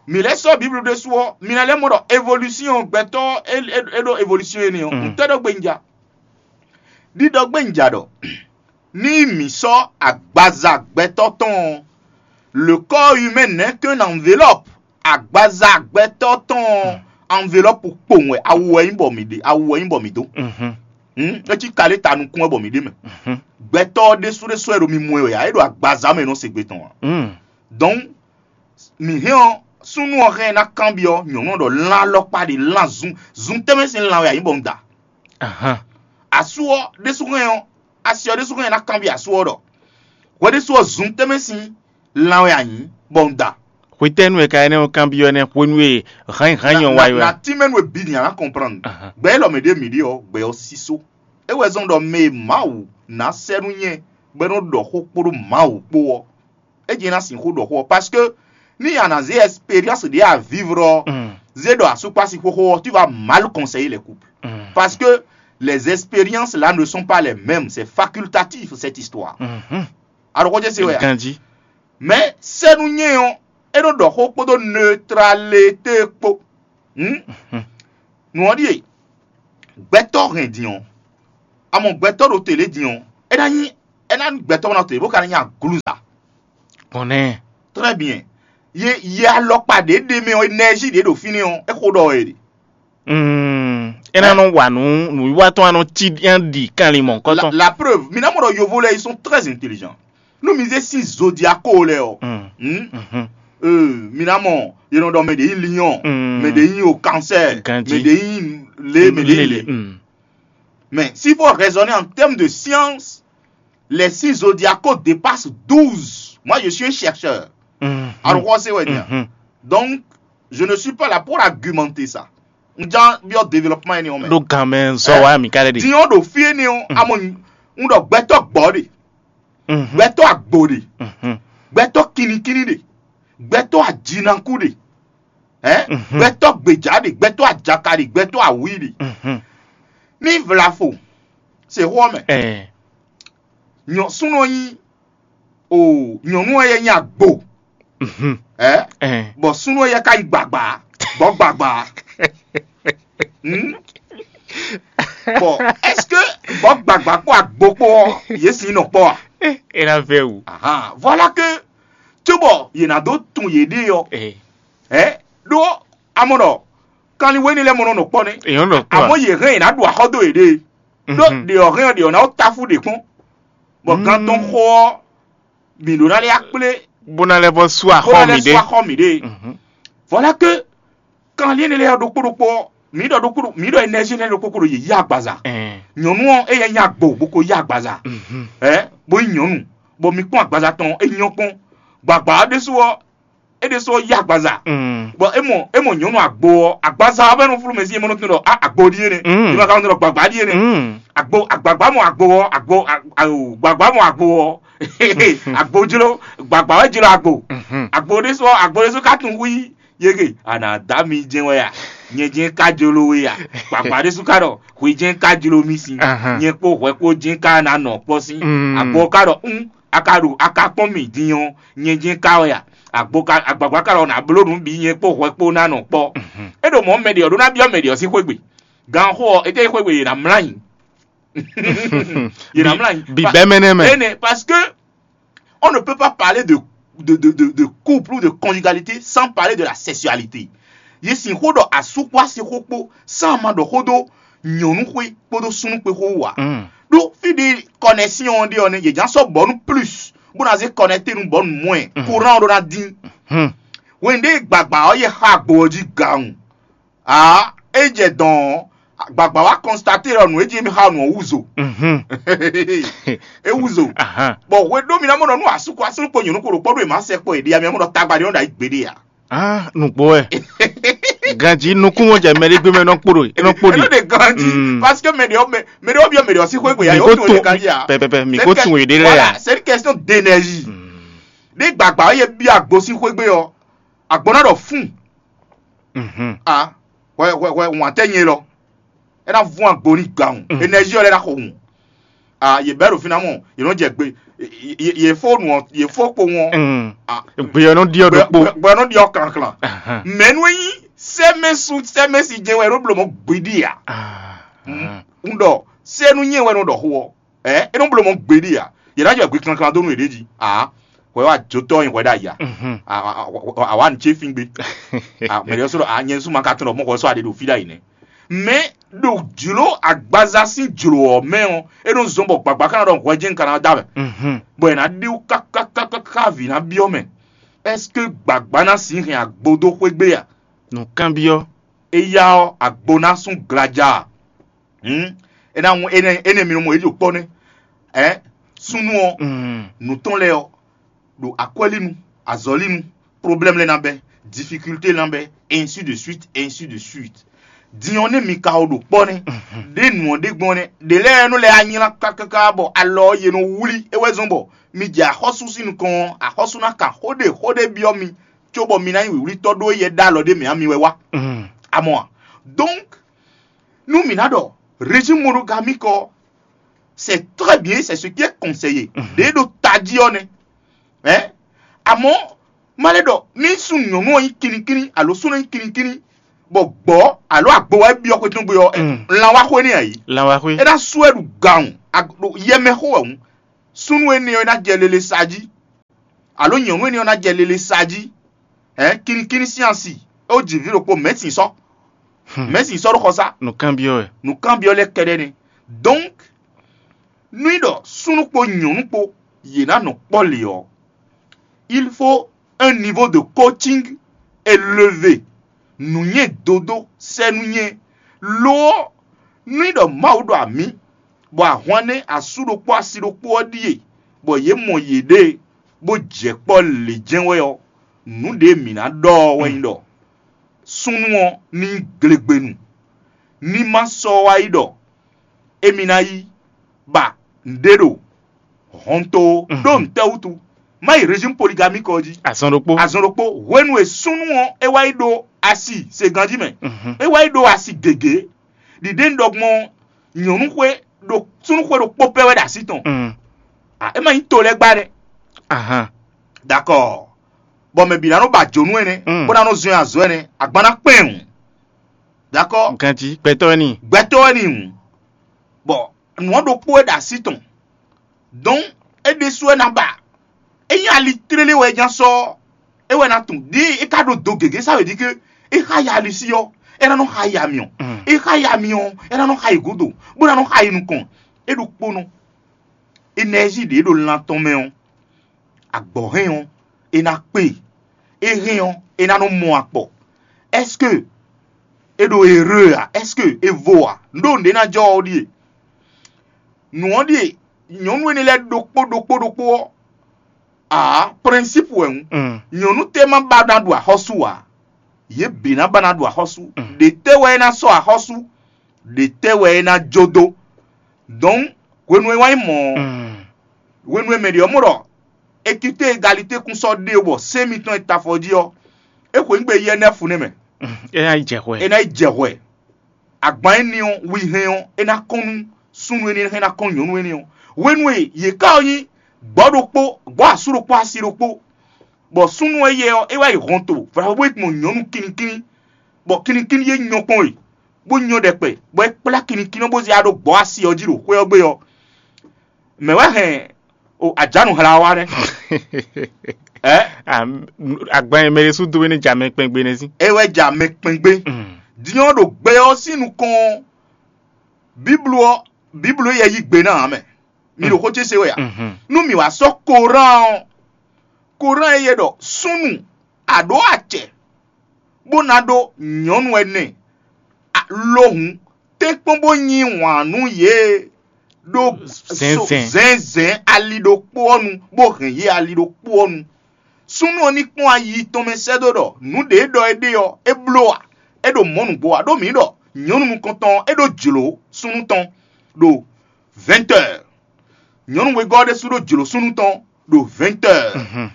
Mi lɛ́ sɔ́ Biblu ɖésú ɔ́, mi ná lɛ́ mɔ ɖɔ évolution gbɛtɔ́ é é é ɖó évolution énɛ́ ɔ́, Mm. ntɛ́ ɖɔ gbe un ja? Ɖiɖɔ gbe un ja ɖɔ ní mǐ sɔ́ agbaza gbɛtɔ́ tɔn ɔ́, le corps humain n'est qu'une enveloppe. Agbaza gbɛtɔ́ tɔn ɔ́, enveloppe kpowun wɛ, awu wɛ nyí bɔ mǐ ɖe, awu wɛ nyí bɔ mǐ dó. Mhm. Hmm? É cí kalé ta nukún wɛ bɔ mǐ ɖe mɛ. Mhm. Gbɛtɔ́ ɔ́ ɖésú ɖésú wɛ ɖo mi mɔ ɛ wɛ ǎ, é ɖo agbaza mɛ nɔ se gbe tɔn ǎ. Mm. Donc, mǐ hɛn ɔ́, súnnu ɔ́ hɛn ná kanbyɔ́ nyɔ̌nu ɔ́ ɖɔ lan alɔkpa ɖe lan zun zun tɛ́nmɛ sín lan wɛ a nyǐ bɔ un da. Ahan. Asú ɔ́ ɖésú hɛn ɔ́, asi ɔ́ ɖésú hɛn ná kanbyɔ́ asú ɔ́ ɖɔ hwɛ ɖésú ɔ́ zun tɛ́nmɛ sín lan wɛ a nyǐ bɔ un da. Hwetɛ́nu e ka énɛ́ ɔ́ kanbyɔ́ énɛ́ hwenu e hǎnnyihǎnnyɔ wa Na- yi wɛ. na tí mɛnu e bǐ nyí a nǎ comprendre. Ahan. Gbɛ élɔ́ mɛ ɖé mǐ ɖe ɔ́, gbɛ ɔ́ sísó. É wɛ zɔ́n ɖɔ mɛ e Mawu ná sɛ́ nú nyɛ bɔ é nɔ ɖɔ xó kpódó Mawu kpó ɔ́, é jɛ ná sixú ɖɔ xó ɔ́. Parce que ní a nǎ zé expérience ɖě a vivre ɔ́, Mm. zé ɖɔ asúkpási xóxó ɔ́, tu vas mal conseiller les couples. Mm. Parce que les expériences là ne sont pas les mêmes, c'est facultatif cette histoire. Mhm. A ɖo xó jɛ se wɛ a? Ganjí. Mais sɛ́nú nyɛ ɔ́, é nɔ ɖɔ xó kpódó neutralité kpó. Hmm? Nǔ ɔ́ ɖíe, gbɛtɔ́ hɛn din ɔ́, a mɔ gbɛtɔ́ ɖo tě lě din ɔ́, é ná nyí é ná gbɛtɔ́ ná tě bó ka ná nyí aglúza. Gbɔn nɛ́. Très bien. Ye ye alɔkpa ɖě ɖe mɛ ɔ́, énergie ɖě ɖo fínɛ́ ɔ́, é xo ɖɔ wɛ ɖe. Mm, é ná nɔ wa nǔ nǔwiwa tɔn anɔ cí ɖi kanlin mɔ̌hunkɔtɔn. La preuve, mi ná mɔ ɖɔ yovo lɛ́ɛ, ils sont très intelligents. Nú mi zé sín zodiako lɛ́ɛ ɔ́, Mm, hmm? mhm, Euh, mi ná mɔ, yě nɔ ɖɔ mɛ ɖě nyí lion, Mm. mɛ ɖě nyí au cancer, Gandhi. Mɛ ɖě nyí lé, mɛ ɖě nyí lé. Mm. Mais s'il faut raisonner en termes de science, les signes zodiacaux dépassent douze. Moi, je suis un chercheur. Mhm. Alors, c'est ouais, bien. Mhm. Donc, je ne suis pas là pour argumenter ça. N ján byɔ́ développement énɛ́ ɔ́ mɛ. Ɖó gan mɛ zɔ wa mi ka ɖe ɖi. Diɲɔ ɖo fí énɛ́ ɔ́, amɔ n ɖɔ gbɛtɔ́ gbɔ̌ ɖe, Mhm. gbɛtɔ́ agbo ɖe, Mhm. gbɛtɔ́ kinikíní ɖe, gbɛtɔ́ ajinaku ɖe, ɛ Mhm. gbɛtɔ́ gbèjà ɖe, gbɛtɔ́ ajaka ɖe, gbɛtɔ́ awǐ ɖe. Mhm. Ní vlafo, se xó ɔ́ mɛ. Ɛ. Nyɔ súnɔ nyí o nyɔnu ɔ́ yɛ nyí agbo, Mhm. ɛ Ɛ. Bɔ súnɔ yɛ ka nyí gbagba, bɔ gbagba. Hmm? Bon, est-ce que bɔ gbagba kpó agbo kpó ɔ́, yě sin nɔ kpɔ a? É ná vɛ wù. Ahan, voilà que cóbɔ yě ná dó tun yěɖée ɔ́, Ɛ. ɛ ɖó amɔ ɖɔ kanlin wéní lɛ́ɛ mɔ nɔ nɔ kpɔ nɛ́. Èèyàn lọ kpɔ. Àmọ́ yě hɛn yě ná ɖu axɔ́ dó yěɖée. Ɖó Mhm. ɖě ɔ́ hɛn ɔ́ ɖě ɔ́ ná wó táfú ɖě kpɔ́n. Bɔ gan tɔn xo ɔ́, mǐ ɖó ná lɛ́ akplé Bó ná lɛ́ vɔ sú bó axɔ ná mi lɛ́ sú ɖe. Axɔ mǐ ɖe. Mhm. Voilà que kanlin énɛ́ lɛ́ɛ ɖokpó ɖokpó ɔ́, mǐ ɖɔ ɖokpó ɖo- mǐ ɖɔ énergie énɛ́ ɖokpó kó ɖo yě yí agbaza. Ɛ. Nyɔ̌nu ɔ́, éyɛ́ nyí agbo bó ko yí agbaza. Mhm. Ɛ bó nyí nyɔ̌nu, bɔ mi kpɔ́n agbaza tɔn ɔ́, é nyɔ́ kpɔ́n. Gbagba ɔ́ ɖésú ɔ́, é ɖésú ɔ́ yí agbaza. Mm. Bɔ é mɔ é mɔ nyɔ̌nu agbo ɔ́, agbaza ɔ́ vɛ́ nɔ flú mɛ sí é mɔ nɔ tunwun ɖɔ a agbo ɖíe nɛ́. Mm. É ma ka nɔ tunwun ɖɔ gbagba ɖíe nɛ́. Mm. Agbo agbagba mɔ agbo ɔ́, agbo a- awo gbagba mɔ agbo ɔ́, agbo jló, gbagba wɛ jló agbo. Mhm. Agbo ɖésú ɔ́, agbo ɖésú ka tunwun hu yí yege, a nǎ dá mi jɛ́n wɛ a? Nyɛ jɛ́n ka jló we a? Gbagba ɖésú ka ɖɔ hwi jɛ́n ka jló mì sín. Ahan. Nyɛ kpó hwɛ kpó jɛ́n ka ná nɔ kpɔ́ sín. Mm. Agbo ka ɖɔ un a ka ɖo a ka kpɔ́n mì din ɔ́, nyɛ jɛ́n ka wɛ a? Agbo ka agbagba ka ɖɔ nǎ bló nǔ bǐ nyɛ kpó hwɛ kpó ná nɔ kpɔ́. Mhm. É ɖo mɔ̌ mɛ ɖě ɔ́ ɖó ná byɔ́ mɛ ɖě ɔ́ sín xwé gbe. Gan xó ɔ́, é jẹ́ xwé gbe yě ná mlá nyi. Yě ná mlá nyi. Bi bɛ́ mɛ nɛ́ mɛ. Ene, parce que on ne peut pas parler de de de de, de couple ou de conjugalité sans parler de la sexualité. Yě sixó ɖɔ asú kpó asi xó kpó, sán ma ɖɔ xó dó nyɔ̌nu xwé kpódó súnnu xwé xó wú ǎ. Mm. Ɖó fí ɖé connexion ɔ́ ɖe ɔ́ nɛ́, yě ján sɔ́ bɔ̌nu plus bó ná zé connecté nú bɔ̌nu moins. Mm. Courant ɔ́ ɖó ná dín. Hmm. Hwenu ɖé gbagba ɔ́ yɛ xá agbo ɔ́ jí gawun. Aa, é jɛ dɔn ɔ́, gbagba wá constaté ɖɔ nǔ e jí émí xá nǔ ɔ́ wúzo. Mhm. É wúzo. Ahan. Bɔ hwe ɖó mi ná mɔ nɔ nú asúkɔ asúnú kpo nyɔ̌nu kpo ɖo kpɔ́ ɖó è má sɛ kpɔ è ɖi ami mɔ nɔ tagba ɖé nɔ ɖo ayǐ gbeɖé a. Ah, nukpó wɛ. Ganji nukún wọn jẹ mɛ ɖé gbé mɛ nɔ kpó ɖo, nɔ kpó Ɛnɔ ɖi. ɖe ganji Mm. Parce que mɛ ɖe ɔ mɛ mɛ ɖe ɔ biɔ mɛ ɖe ɔ sí xwé gbe ya Mi yóò ko tún tún ɖe ganji a. pɛpɛpɛ mi C'est ko que- tún èdè lɛ Voilà, ya. C'est une question d'énergie. Ní gbàgbà ó yẹ bí àgbo sí xwé gbé ọ, àgbo náà dọ̀ fún. Mhm. Ah, wɛ wɛ wɛ wọn àtẹ yẹn lọ. Ẹ náà fún àgbo ní gbà wọn. Mm. Énergie ọ̀lẹ́ náà kò wọn. Ah, yè bẹ́ẹ̀ ló fi náà mọ̀, yè ló jẹ gbé, yè fó nù ọ, yè fó kpo wọn. Mm. Ah, Gbeyɔ nɔ diɔ ɖokpo. Gbɔnɔ diɔ kankan. Ahan. Mɛnu yi sɛmɛsu sɛmɛsi jɛ wɛ ɖo blɔmɔ gbedi ya. Ah. N dɔ sɛnu nyɛ wɛ nɔ dɔ xo ɔ. Ɛ e nɔ blɔmɔ gbedi ya. Yɛ na jɔ gbe kankan do nu yɛ ɖe ji. Ah, wɛ wa jo tɔ yin wɛ da ya. Mhm. Awa n ce fi gbe. Ah, mɛ de sɔrɔ a nyɛ suma ka tɔn dɔ mɔ xɔ sɔ a de do fi da yi nɛ. Mɛ ɖo jlo agbaza sín jlo ɔ mɛ ɔ, e nɔ zɔn bɔ gbagba kana dɔ hwɛ jɛn kana da mɛ. Mhm. Bɔ yɛ na ɖi wu kakakaka vi na biɔ mɛ. Est-ce que gbagba na si hɛn agbo do xwé gbe ya? Nùkánbyɔ. Eya ɔ agbo na sún glaja. Hmm? Ena ŋu ene ene mi nɔ mɔ eyi kpɔ ne. Ɛ sunu ɔ Mm. nutɔn lɛ ɔ ɖo akwɛlinu, azɔlinu, problème lɛ na bɛ, difficulté lɛ na bɛ, ainsi de suite, ainsi de suite. Din ɔ ne mi ka ɔ ɖo kpɔ ne, ɖe nu ɔ ɖe gbɔn ne, ɖe lɛ nɔ lɛ anyla kakaka bɔ alɔ ye nɔ wuli ewɛ zɔn bɔ mi jɛ axɔsu sin nukɔn, axɔsu na ka xo ɖe xo ɖe biɔ mi, cóbɔ mi na nyí wǐwlítɔ́ ɖó yɛ ɖó alɔ ɖé mɛ ami wɛ wá. Mm. Amɔ a? Donc, nú mǐ ná ɖɔ régime monogamique ɔ́, c'est très bien, c'est ce qui est conseillé. Ɖě ɖo tají ɔ́ nɛ́. Ɛ amɔ̌ má lɛ́ ɖɔ ní sun nyɔ̌nu ɔ́ nyí kinnikínní alo súnnu ɔ́ nyí kinnikínní, bɔ gbɔ̌ alo agbo wá byɔ́ xwé tɔn gbe ɔ́, Mm. lan wá xwé n'i ǎ yí. Lanwaxwe. É ná sú ɛ ɖu gawun, ɖo yɛ mɛ xó wɛ hǔn. Súnnu énɛ́ ɔ́ é ná jɛ lele sa jí. Alo nyɔ̌nu énɛ́ ɔ́ ná jɛ lele sa jí, hɛn, kinnikínní sín asi, é wó ji vǐ ɖokpó, mɛ̌ sin sɔ́? Mɛ̌ sin sɔ́ ɖó xɔsá? Nǔkanbyɔ́ wɛ. Nǔkanbyɔ́ lɛ́ kɛɖɛ́ nɛ́. Donc, nú nyí ɖɔ súnnu kpó nyɔ̌nu kpó yě ná nɔ kpɔ́ lě ɔ́, il faut un niveau de coaching élevé. Nǔnywɛ́ dodó sɛ́ nú nyɛ. Lo ɔ́, nú nyí ɖɔ Mawu ɖɔ amǐ, bɔ ahwan nɛ́ asú ɖokpó asi ɖokpó ɔ́ ɖíe, bɔ yě mɔ yěɖée, bó jɛ kpɔ́ lě jɛ́n wɛ ɔ́, nǔ ɖě mǐ ná ɖɔ ɔ́ wɛ nyí ɖɔ súnnu ɔ́ ní nyí glegbenu, ní ma sɔ́ wá yi ɖɔ émí ná yi ba nǔɖé ɖo hɔnto ó. Ɖó nǔtɛ́ wútu? Má yi régime polygamie kɔ jí. Azɔn ɖokpó. Azɔn ɖokpó. Hwenu e súnnu ɔ́ é wá yi ɖó asi se ganjí mɛ, é wá yi ɖó asi gěgé. Ɖiɖe un ɖɔ gbɔn ɔ́, nyɔ̌nu xwé ɖo súnnu xwé ɖokpó pɛ́ wɛ ɖo así tɔn. É ma nyí to lɛ́ɛ gbá ɖɛ. Ahan. D'accord. Bɔ mɛ bǐ ná nɔ ba jǒnú ɛnɛ, bó ná nɔ zɔn azɔ̌ ɛnɛ, agban ná kpɛn wǔ. D'accord. Ganjí gbɛtɔ́ wɛ n'i. Gbɛtɔ́ wɛ n'i hǔn. Bɔ nǔ ɔ́ ɖokpó wɛ ɖo así tɔn. Donc é ɖésú wɛ ná ba. Ényí ali tlélé wɛ é ná sɔ́, é wɛ ná tunwun ɖěe é ka ɖo do gěgé sá wě ɖi ké é xá ya ali sí ɔ́, é ná nɔ xá yi amyɔ. É xá yi amyɔ ɔ́, é ná nɔ xá yi gǔdo, bó ná nɔ xá yi nukɔn. É ɖokpónɔ. Énɛ́zi ɖě ɖo lan tɔn mɛ ɔ́, agbɔ̌ hɛn ɔ́, é ná kpe. É hɛn ɔ́, é ná nɔ mɔ akpɔ. Est-ce que é ɖo erreur a? Est-ce que é vo a? Nǔ ɖo nǔɖé ná jɔ ɔ́ ɖíe. Nǔ ɔ́ ɖíe nyɔ̌nu énɛ́ lɛ́ɛ ɖokpó ɖokpó ɖokpó ɔ́, aa, principe wɛ hǔn. Nyɔ̌nu tɛ́ ma ba ná ɖu axɔ́sú ǎ. Yě bǐ ná ba ná ɖu axɔ́sú. Ɖě tɛ́ wɛ é ná sɔ́ axɔ́sú? Ɖě tɛ́ wɛ é ná jó dó? Donc hwenu e wá nyí mɔ̌ ɔ́, hwenu e mɛ ɖě ɔ́ mɔ ɖɔ équité égalité kún sɔ́ ɖe bɔ sɛ́n mitɔn e ta afɔ jí ɔ́, é xweyǐgbe yi ɛnɛ́fu nɛ́ mɛ. É ná yi jɛ hwɛ. É ná yi jɛ hwɛ. Agban énɛ́ ɔ́, wi hɛn ɔ́, é ná kɔn nú súnnu énɛ́ hɛn ná kɔn nyɔ̌nu énɛ́ ɔ́. Hwenu e yě ká ɔ́ nyí gbɔ̌ ɖokpó, gbɔ̌ asú ɖokpó, asi ɖokpó, bɔ súnnu éyɛ́ ɔ́, é wá yi hɔnto, vɔ̌ bó yi gbɔn nyɔ̌nu kinnikínní, bɔ kinnikínní é nyɔ kpɔ́n e, bó nyɔ ɖɛkpɛ, bɔ é kplá kinnikínní ɔ́ bó zé ya ɖó gbɔ̌ asi ɔ́ jí ɖo xwé ɔ́ gbe ɔ́, mɛ̌ wɛ hɛn o ajánu hla ɔ́ wá nɛ́? Ɛ? Agban e mɛ ɖésú dó é ní jɛ amɛ kpɛngbe nɛ́ sín. É wɛ jɛ amɛ kpɛngbe. Din ɔ́ ɖo gbɛ ɔ́ sín nukɔn ɔ́, Bíblu ɔ́, Bíblu éyɛ́ yí gbe ná ǎ mɛ. Mi ɖo xó ce se wɛ a? Nú mǐ wá sɔ́ Korán ɔ́, Korán éyɛ́ ɖɔ súnnu a ɖǒ acɛ bó ná ɖó nyɔ̌nu ɛnɛ, lo hǔn tɛ́nkpɔ́n bó yí wǎn nú yě ɖó zɛ̌nzɛ̌n ali ɖokpó ɔ́ nu, bó hɛn yě ali ɖokpó ɔ́ nu. Súnnu ɔ́ ní kpɔ́n ayi tɔn mɛ sɛ́ dó ɖɔ nǔ ɖě e ɖɔ é ɖe ɔ́, é bló a? É ɖo mɔ̌ nǔgbó a? Ɖó mǐ ɖɔ nyɔ̌nu nukɔntɔn ɔ́, é ɖó jlǒ súnnu tɔn ɖo vɛ̌ntɛ́. Nyɔ̌nu wegɔ́ ɔ́ ɖésú ɖó jlǒ súnnu tɔn ɖo vɛ̌ntɛ́.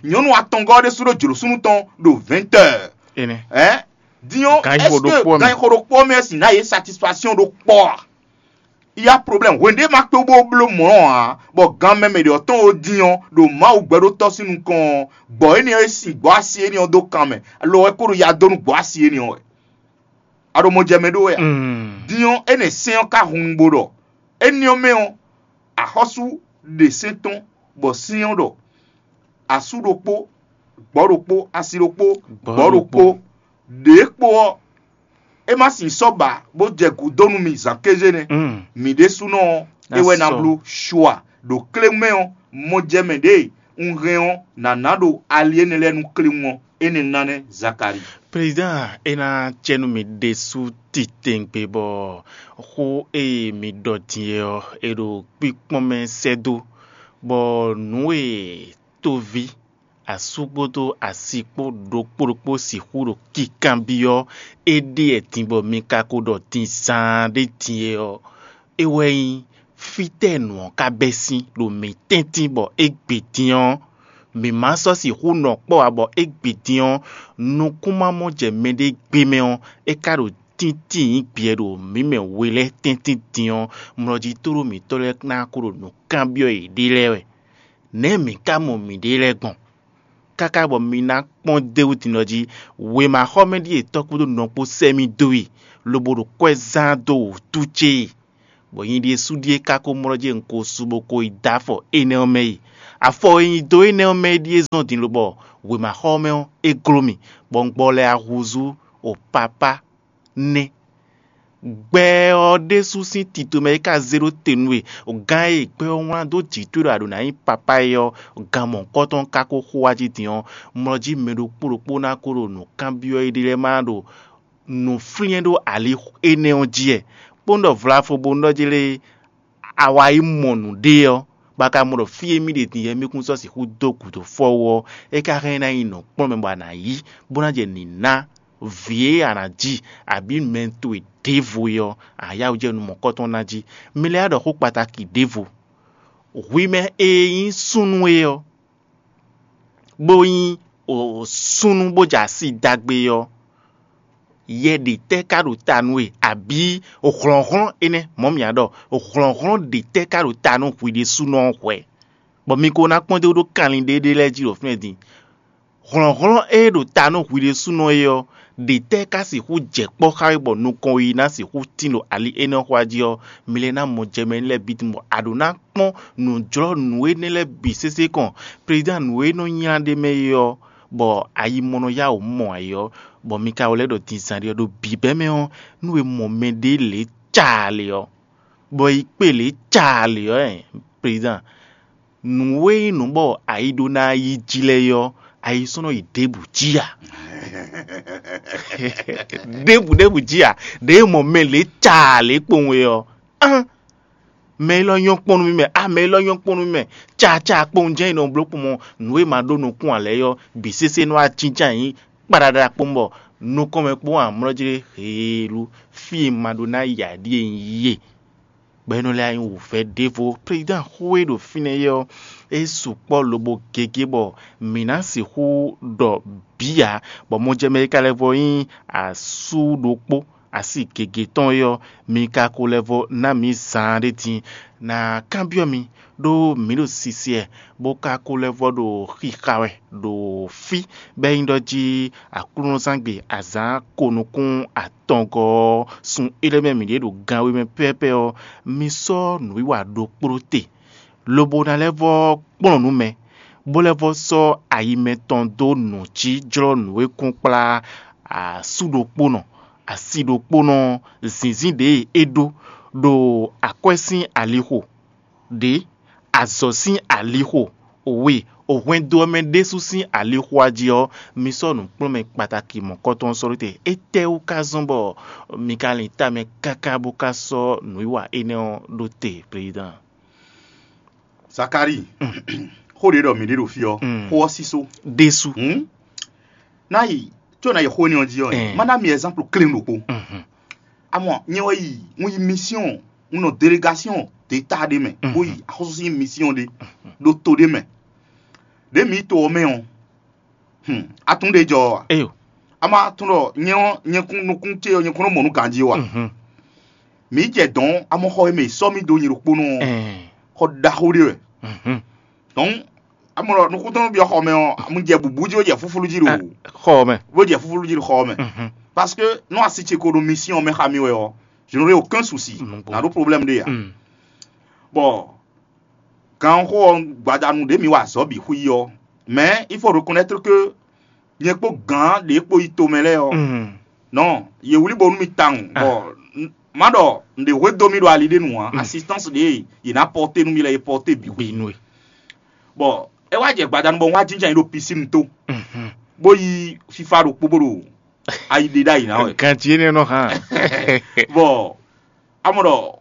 Nyɔ̌nu atɔngɔ́ ɔ́ ɖésú ɖó jlǒ súnnu tɔn ɖo vɛ̌ntɛ́. Ɛ din ɔ́, est-ce que gan xo ɖokpó ɔ́ mɛ sin ná yě satisfaction ɖokpó a? Il y a problème. Hwenu ɖé ma kpé bó bló mɔ̌ ǎ, bɔ gan mɛ mɛ ɖě ɔ́ tɔn ó din ɔ́, ɖo Mawu gbɛɖótɔ́ sín nukɔn ɔ́, gbɔ̌ énɛ́ e sin gbɔ̌ asi énɛ́ ɔ́ dó kan mɛ, lo ɔ́ é ko ɖo ya dó nú gbɔ̌ asi énɛ́ ɔ́ wɛ. A ɖo mɔ jɛ mɛ ɖó wɛ a? Din ɔ́, énɛ́ sɛ́n ɔ́ ka hun bo ɖɔ éní ɔ́ mɛ ɔ́, axɔ́sú ɖe sɛ́n tɔn, bɔ sɛ́n ɔ́ ɖɔ asú ɖokpó, gbɔ̌ ɖokpó, asi ɖokpó, gbɔ̌ ɖokpó, ɖě kpo ɔ́, é má sin sɔ́ ba bó jɛ gǔdo nú mi zǎn kéze nɛ́. Mǐ ɖésúnɔ ɔ́, é wɛ ná bló shuwa. Ɖo kléwún mɛ ɔ́, mɔ jɛ mɛ ɖěe un hɛn ɔ́, nǎ ná ɖo ali énɛ́ lɛ́ɛ nú kléwún ɔ́, énɛ́ ná nɛ́ Zakalíi. Président, é ná cɛ nú mi ɖésú titewungbe bɔ xó e mi ɖɔ din é ɔ́, è ɖo kpíkpɔ́n mɛ sɛ́ dó, bɔ nǔ e tóví, asú kpódó asi kpó ɖokpó ɖokpó sixú ɖo kikanbyɔ́ éɖée din bɔ mi ka ko ɖɔ din zaan ɖé din é ɔ́, é wɛ nyí fítɛ́ nǔ ɔ́ ka bɛ́ sín ɖo mǐ tɛ́ntin bɔ égbé din ɔ́, mǐ ma sɔ́ sixú nɔ kpɔ́ ǎ bɔ égbé din ɔ́, nukún ma mɔ jɛ mɛɖé gbé mɛ ɔ́, é ka ɖo tíntín nyǐ gbɛ ɖo mǐ mɛ we lɛ́ɛ tɛ́ntin din ɔ́, mlɔjí tóɖó mǐtɔn lɛ́ɛ ná ko ɖo nǔ kanbyɔ́ yěɖée lɛ́ɛ wɛ. Nɛ̌ mǐ ka mɔ mǐɖée lɛ́ɛ gbɔn? Káká bɔ mi ná kpɔ́n d'é wú din ɔ́ jí, wěmaxɔmɛ ɖíe tɔ́ kpódó nɔ kpó sɛ́ mì dó e, lobo ɖo kwɛ́ zán dó wǔtu ce e, bɔ nyi ɖésú ɖíe ka ko mlɔ́ jɛ un ko su bó ko yi dó afɔ énɛ́ ɔ́ mɛ e. Afɔ e nyi dó énɛ́ ɔ́ mɛ é ɖíe zɔ́n din lobɔ wěmaxɔ ɔ́ mɛ ɔ́, é gló mì, bɔ un gbɔ lɛ ahúzú o papá nɛ́. Gbɛ ɔ́ ɖésú sín tito mɛ é ka zé ɖó te nú we. Gán e gbɛ ɔ́ wlán dó jǐ towe ɖɔ a ɖǒ ná nyí papá é ɔ́, gan mɔ̌hunkɔtɔn ka ko xo wá jí din ɔ́, mlɔ jí mɛ ɖokpó ɖokpó ná ko ɖo nǔkanbyɔ́ éɖée lɛ́ɛ má ɖo nǔ flín ɖó ali énɛ́ ɔ́ jí wɛ. Kpónɔ ɖɔ vlafo bónú ɖɔ jí lé, a wá yi mɔ nǔɖé ɔ́, bɔ a ka mɔ ɖɔ fí e mì ɖe din yɛ mì kún sɔ́ sixú dó gǔdo fɔ wú ɔ́, é ka hɛn ná nyi nǔkplɔ́nmɛ bɔ a nǎ yí, bó ná jɛ nǐ ná vǐ e a nǎ ji, abǐ mɛ towe ɖěvo é ɔ́, a yá wǔ jɛ nú mɔ̌kɔtɔn ná jí. Mi lɛ́ wá ɖɔ xó kpataki ɖěvo. Hwi mɛ e nyí súnnu é ɔ́, bó nyí súnnu bó jɛ asi dagbe ɔ́, yɛ ɖě tɛ́ ka ɖo ta nú we, abǐ hlɔ̌nhlɔ́n énɛ́? Mɔ̌ mǐ ɖɔ hlɔ̌nhlɔ́n ɖě tɛ́ ka ɖo ta nú hwi ɖésúnɔ ɔ́ hwɛ, bɔ mi ko ná kpɔ́n dó ɖó kanlin ɖé ɖé lɛ́ɛ jí ɖo fínɛ́ din? Hlɔ̌nhlɔ́n e ɖo ta nú hwi ɖésúnɔ é ɔ́, ɖě tɛ́ ka sixú jɛ kpɔ́ xá we bɔ nukɔn yi ná sixú tín ɖo ali énɛ́ xwá jí ɔ́, mi lɛ́ ná mɔ jɛ mɛ lɛ́ɛ bǐ tunwun bɔ a ɖǒ ná kpɔ́n nǔjlɔ́ nǔ énɛ́ lɛ́ɛ bǐ sésé kɔn. Prezidán nǔ e nɔ nylá ɖ'é mɛ é ɔ́, bɔ ayi mɔ nɔ yá wǔ mɔ ayǐ ɔ́, bɔ mi ka wlɛ́ ɖɔ din zǎnɖé ɔ́ ɖo bǐbɛ́ mɛ ɔ́, nú è mɔ mɛɖé lě caa lě ɔ́, bɔ yi kpé lě caa lě ɔ́, prezidán, nǔ e nyí nǔ bɔ ayi ɖó ná yi jí lɛ́ɛ é ɔ́, ayi sɔ́ nɔ yi ɖěbǔ jí ǎ. Ɖěbǔ ɖěbǔ jí ǎ. Ɖěe mɔ mɛ lě caa lě kpowun é ɔ́, án, mɛ élɔ́ nyɔ́ kpɔ́n nú mì mɛ, á mɛ élɔ́ nyɔ́ kpɔ́n nú mì mɛ. Caa caa kpowun jɛ́n è nɔ bló kpɔ́n mɔ nǔ e ma ɖó nukún ǎ lɛ́ɛ ɔ́, bǐ sésé nɔ wá jínjɔ́n ayǐ kpaɖaɖa kpɔ́n bɔ nukɔn mɛ kpɔ́n amlɔ́ jí heelú, fí e ma ɖó ná yi ǎ ɖíe un yi e. Bɔ é nɔ lɛ́ wá nyí wǔvɛ́ ɖěvo. Prezidán xó e ɖo fínɛ́ é ɔ́, é sukpɔ́ lobo gěgé bɔ mǐ ná sixú ɖɔ bǐ ǎ, bɔ mɔjɛmɛ e ka lɛ́ vɔ nyí asú ɖokpó asi gěgé tɔn é ɔ́, mi ka ko lɛ́ vɔ ná mǐ zaan ɖé din. Nǎ kanbyɔ́ mi, ɖó mǐ ɖo sisi wɛ, bó ka ko lɛ́ vɔ ɖo xixa wɛ ɖo fí, bɔ é nyí ɖɔ jí Aklúnɔzángbe azǎn ko nukún atɔngɔ́ ɔ́, sun éɖée mɛ mǐ ɖe ɖo gan we mɛ pɛ́pɛ́ ɔ́, mi sɔ́ nǔwiwa ɖokpó te, lobo ná lɛ́ vɔ kplɔ́n nǔ mɛ, bó lɛ́ vɔ sɔ́ ayi mɛtɔn dó nǔ jí jlɔ́ nǔ e kún kplá asú ɖokpónɔ, asi ɖokpónɔ, zǐnzín ɖě e é ɖó, ɖo akwɛ́ sín alixo ɖě, azɔ̌ sín alixo, we, hwɛndo ɔ́ mɛ ɖésú sín alixo jí ɔ́, mi sɔ́ nǔkplɔ́nmɛ kpataki mɔ̌kɔtɔn ɔ́ sɔ́ ɖó te. Étɛ́wú ka zɔ́n bɔ mi ka lin ta mɛ káká bó ka sɔ́ nǔwiwa énɛ́ ɔ́ ɖó te, prezidán? Zakalíi, xó ɖě ɖɔ mǐ ɖe ɖo fí ɔ́, xó ɔ́ sísó ɖésú. Ná yi, có ná yi xó énɛ́ ɔ́ jí ɔ́, má ná mi ɛzánplu klín ɖokpó. Amɔ nyɛ wɛ yi, un yi misiɔn, un nɔ delegásiɔn ɖěta ɖé mɛ, bó yi axɔ́sú sín misiɔn ɖé ɖo to ɖé mɛ. Ɖě mǐ yi to ɔ́ mɛ ɔ́, atún ɖé jɔ ɔ́ a? Eyo. A ma tunwun ɖɔ nyɛ ɔ́, nyɛkún nukún ce ɔ́, nyɛkún nɔ mɔ nǔ ganjí ó a? Mǐ jɛ dɔ̌n, amɔ xɔ e mɛ è sɔ́ mì dó nyɛ ɖokpónɔ ɔ́, xɔ ɖaxó ɖé wɛ. Donc, amɔ ɖɔ nukúntɔ́ nɔ byɔ́ xɔ mɛ ɔ́, mu jɛ bǔbú jí, bó jɛ fúflú jí ɖo xɔ mɛ. Bó jɛ fúflú jí ɖo xɔ mɛ. Parce que nú asi ce ko ɖo misiɔn mɛ xá mì wɛ ɔ́, je n'aurai aucun souci. Nǎ ɖó problème ɖé ǎ. Bɔ ganxó ɔ́ gbadanu ɖě mǐ wa azɔ̌ bǐ xwí ɔ́, mais il faut reconnaître que nyɛ kpó gǎn ɖě kpó yi tomɛ lɛ́ɛ ɔ́, nɔ yě wlí bo nú mi tawun, bɔ má ɖɔ un ɖe hwedó mì ɖo ali ɖé nu ǎ. Assistance ɖě yě ná pɔté nú mi lɛ́ɛ, yě pɔté bǐ xwí. Bǐ nú e. Bɔ é wá jɛ gbadanu bɔ un wá jínjɔ́n ayǐ ɖo pisínu tó, bó yí fífá ɖokpó bó ɖo ayi ɖe ɖ'ayǐ ná wɛ. Ganjí énɛ́ nɔ hán. Bɔ amɔ ɖɔ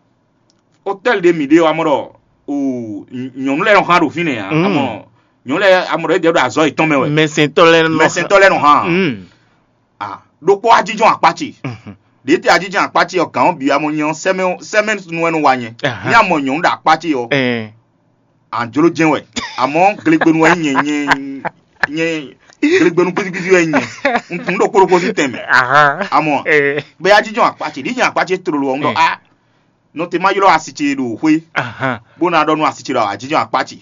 hôtel ɖé mǐ ɖe ɔ́, amɔ ɖɔ o nyɔ̌nu lɛ́ɛ nɔ hán ɖo fínɛ́ ǎ. Amɔ nyɔ̌nu lɛ́ɛ, amɔ ɖɔ é ɖɔ azɔ̌ yětɔn mɛ wɛ. Mɛsɛntɔ́ lɛ́ɛ nɔ hán. Mɛsɛntɔ́ lɛ́ɛ nɔ hán. A ɖokpó ajínjɔ́n akpá ce. Ɖě te ajínjɔ́n akpá ce ɔ́, gǎn ɔ́ bǐ amɔ nyɛ ɔ́, sɛmɛ sɛmɛ nu wɛ nɔ wa nyɛ. Ní amɔ nyɔ̌nu ɖo akpá ce ɔ́, anjló jɛ́n wɛ. Amɔ glegbenu wɛ nyɛ nyɛ nyɛ glegbenu gbídígbídí wɛ nyɛ. Un ɖo kpóɖokpó sín tɛn mɛ. Amɔ bɛ ajínjɔ́n akpá ce, ɖǐ nyɛ akpá ce tlolo ɔ́, un ɖɔ a nɔ te ma ylɔ́ asi ce ɖo xwé, bó ná ɖɔ nú asi ce ɖɔ ajínjɔ́n akpá ce.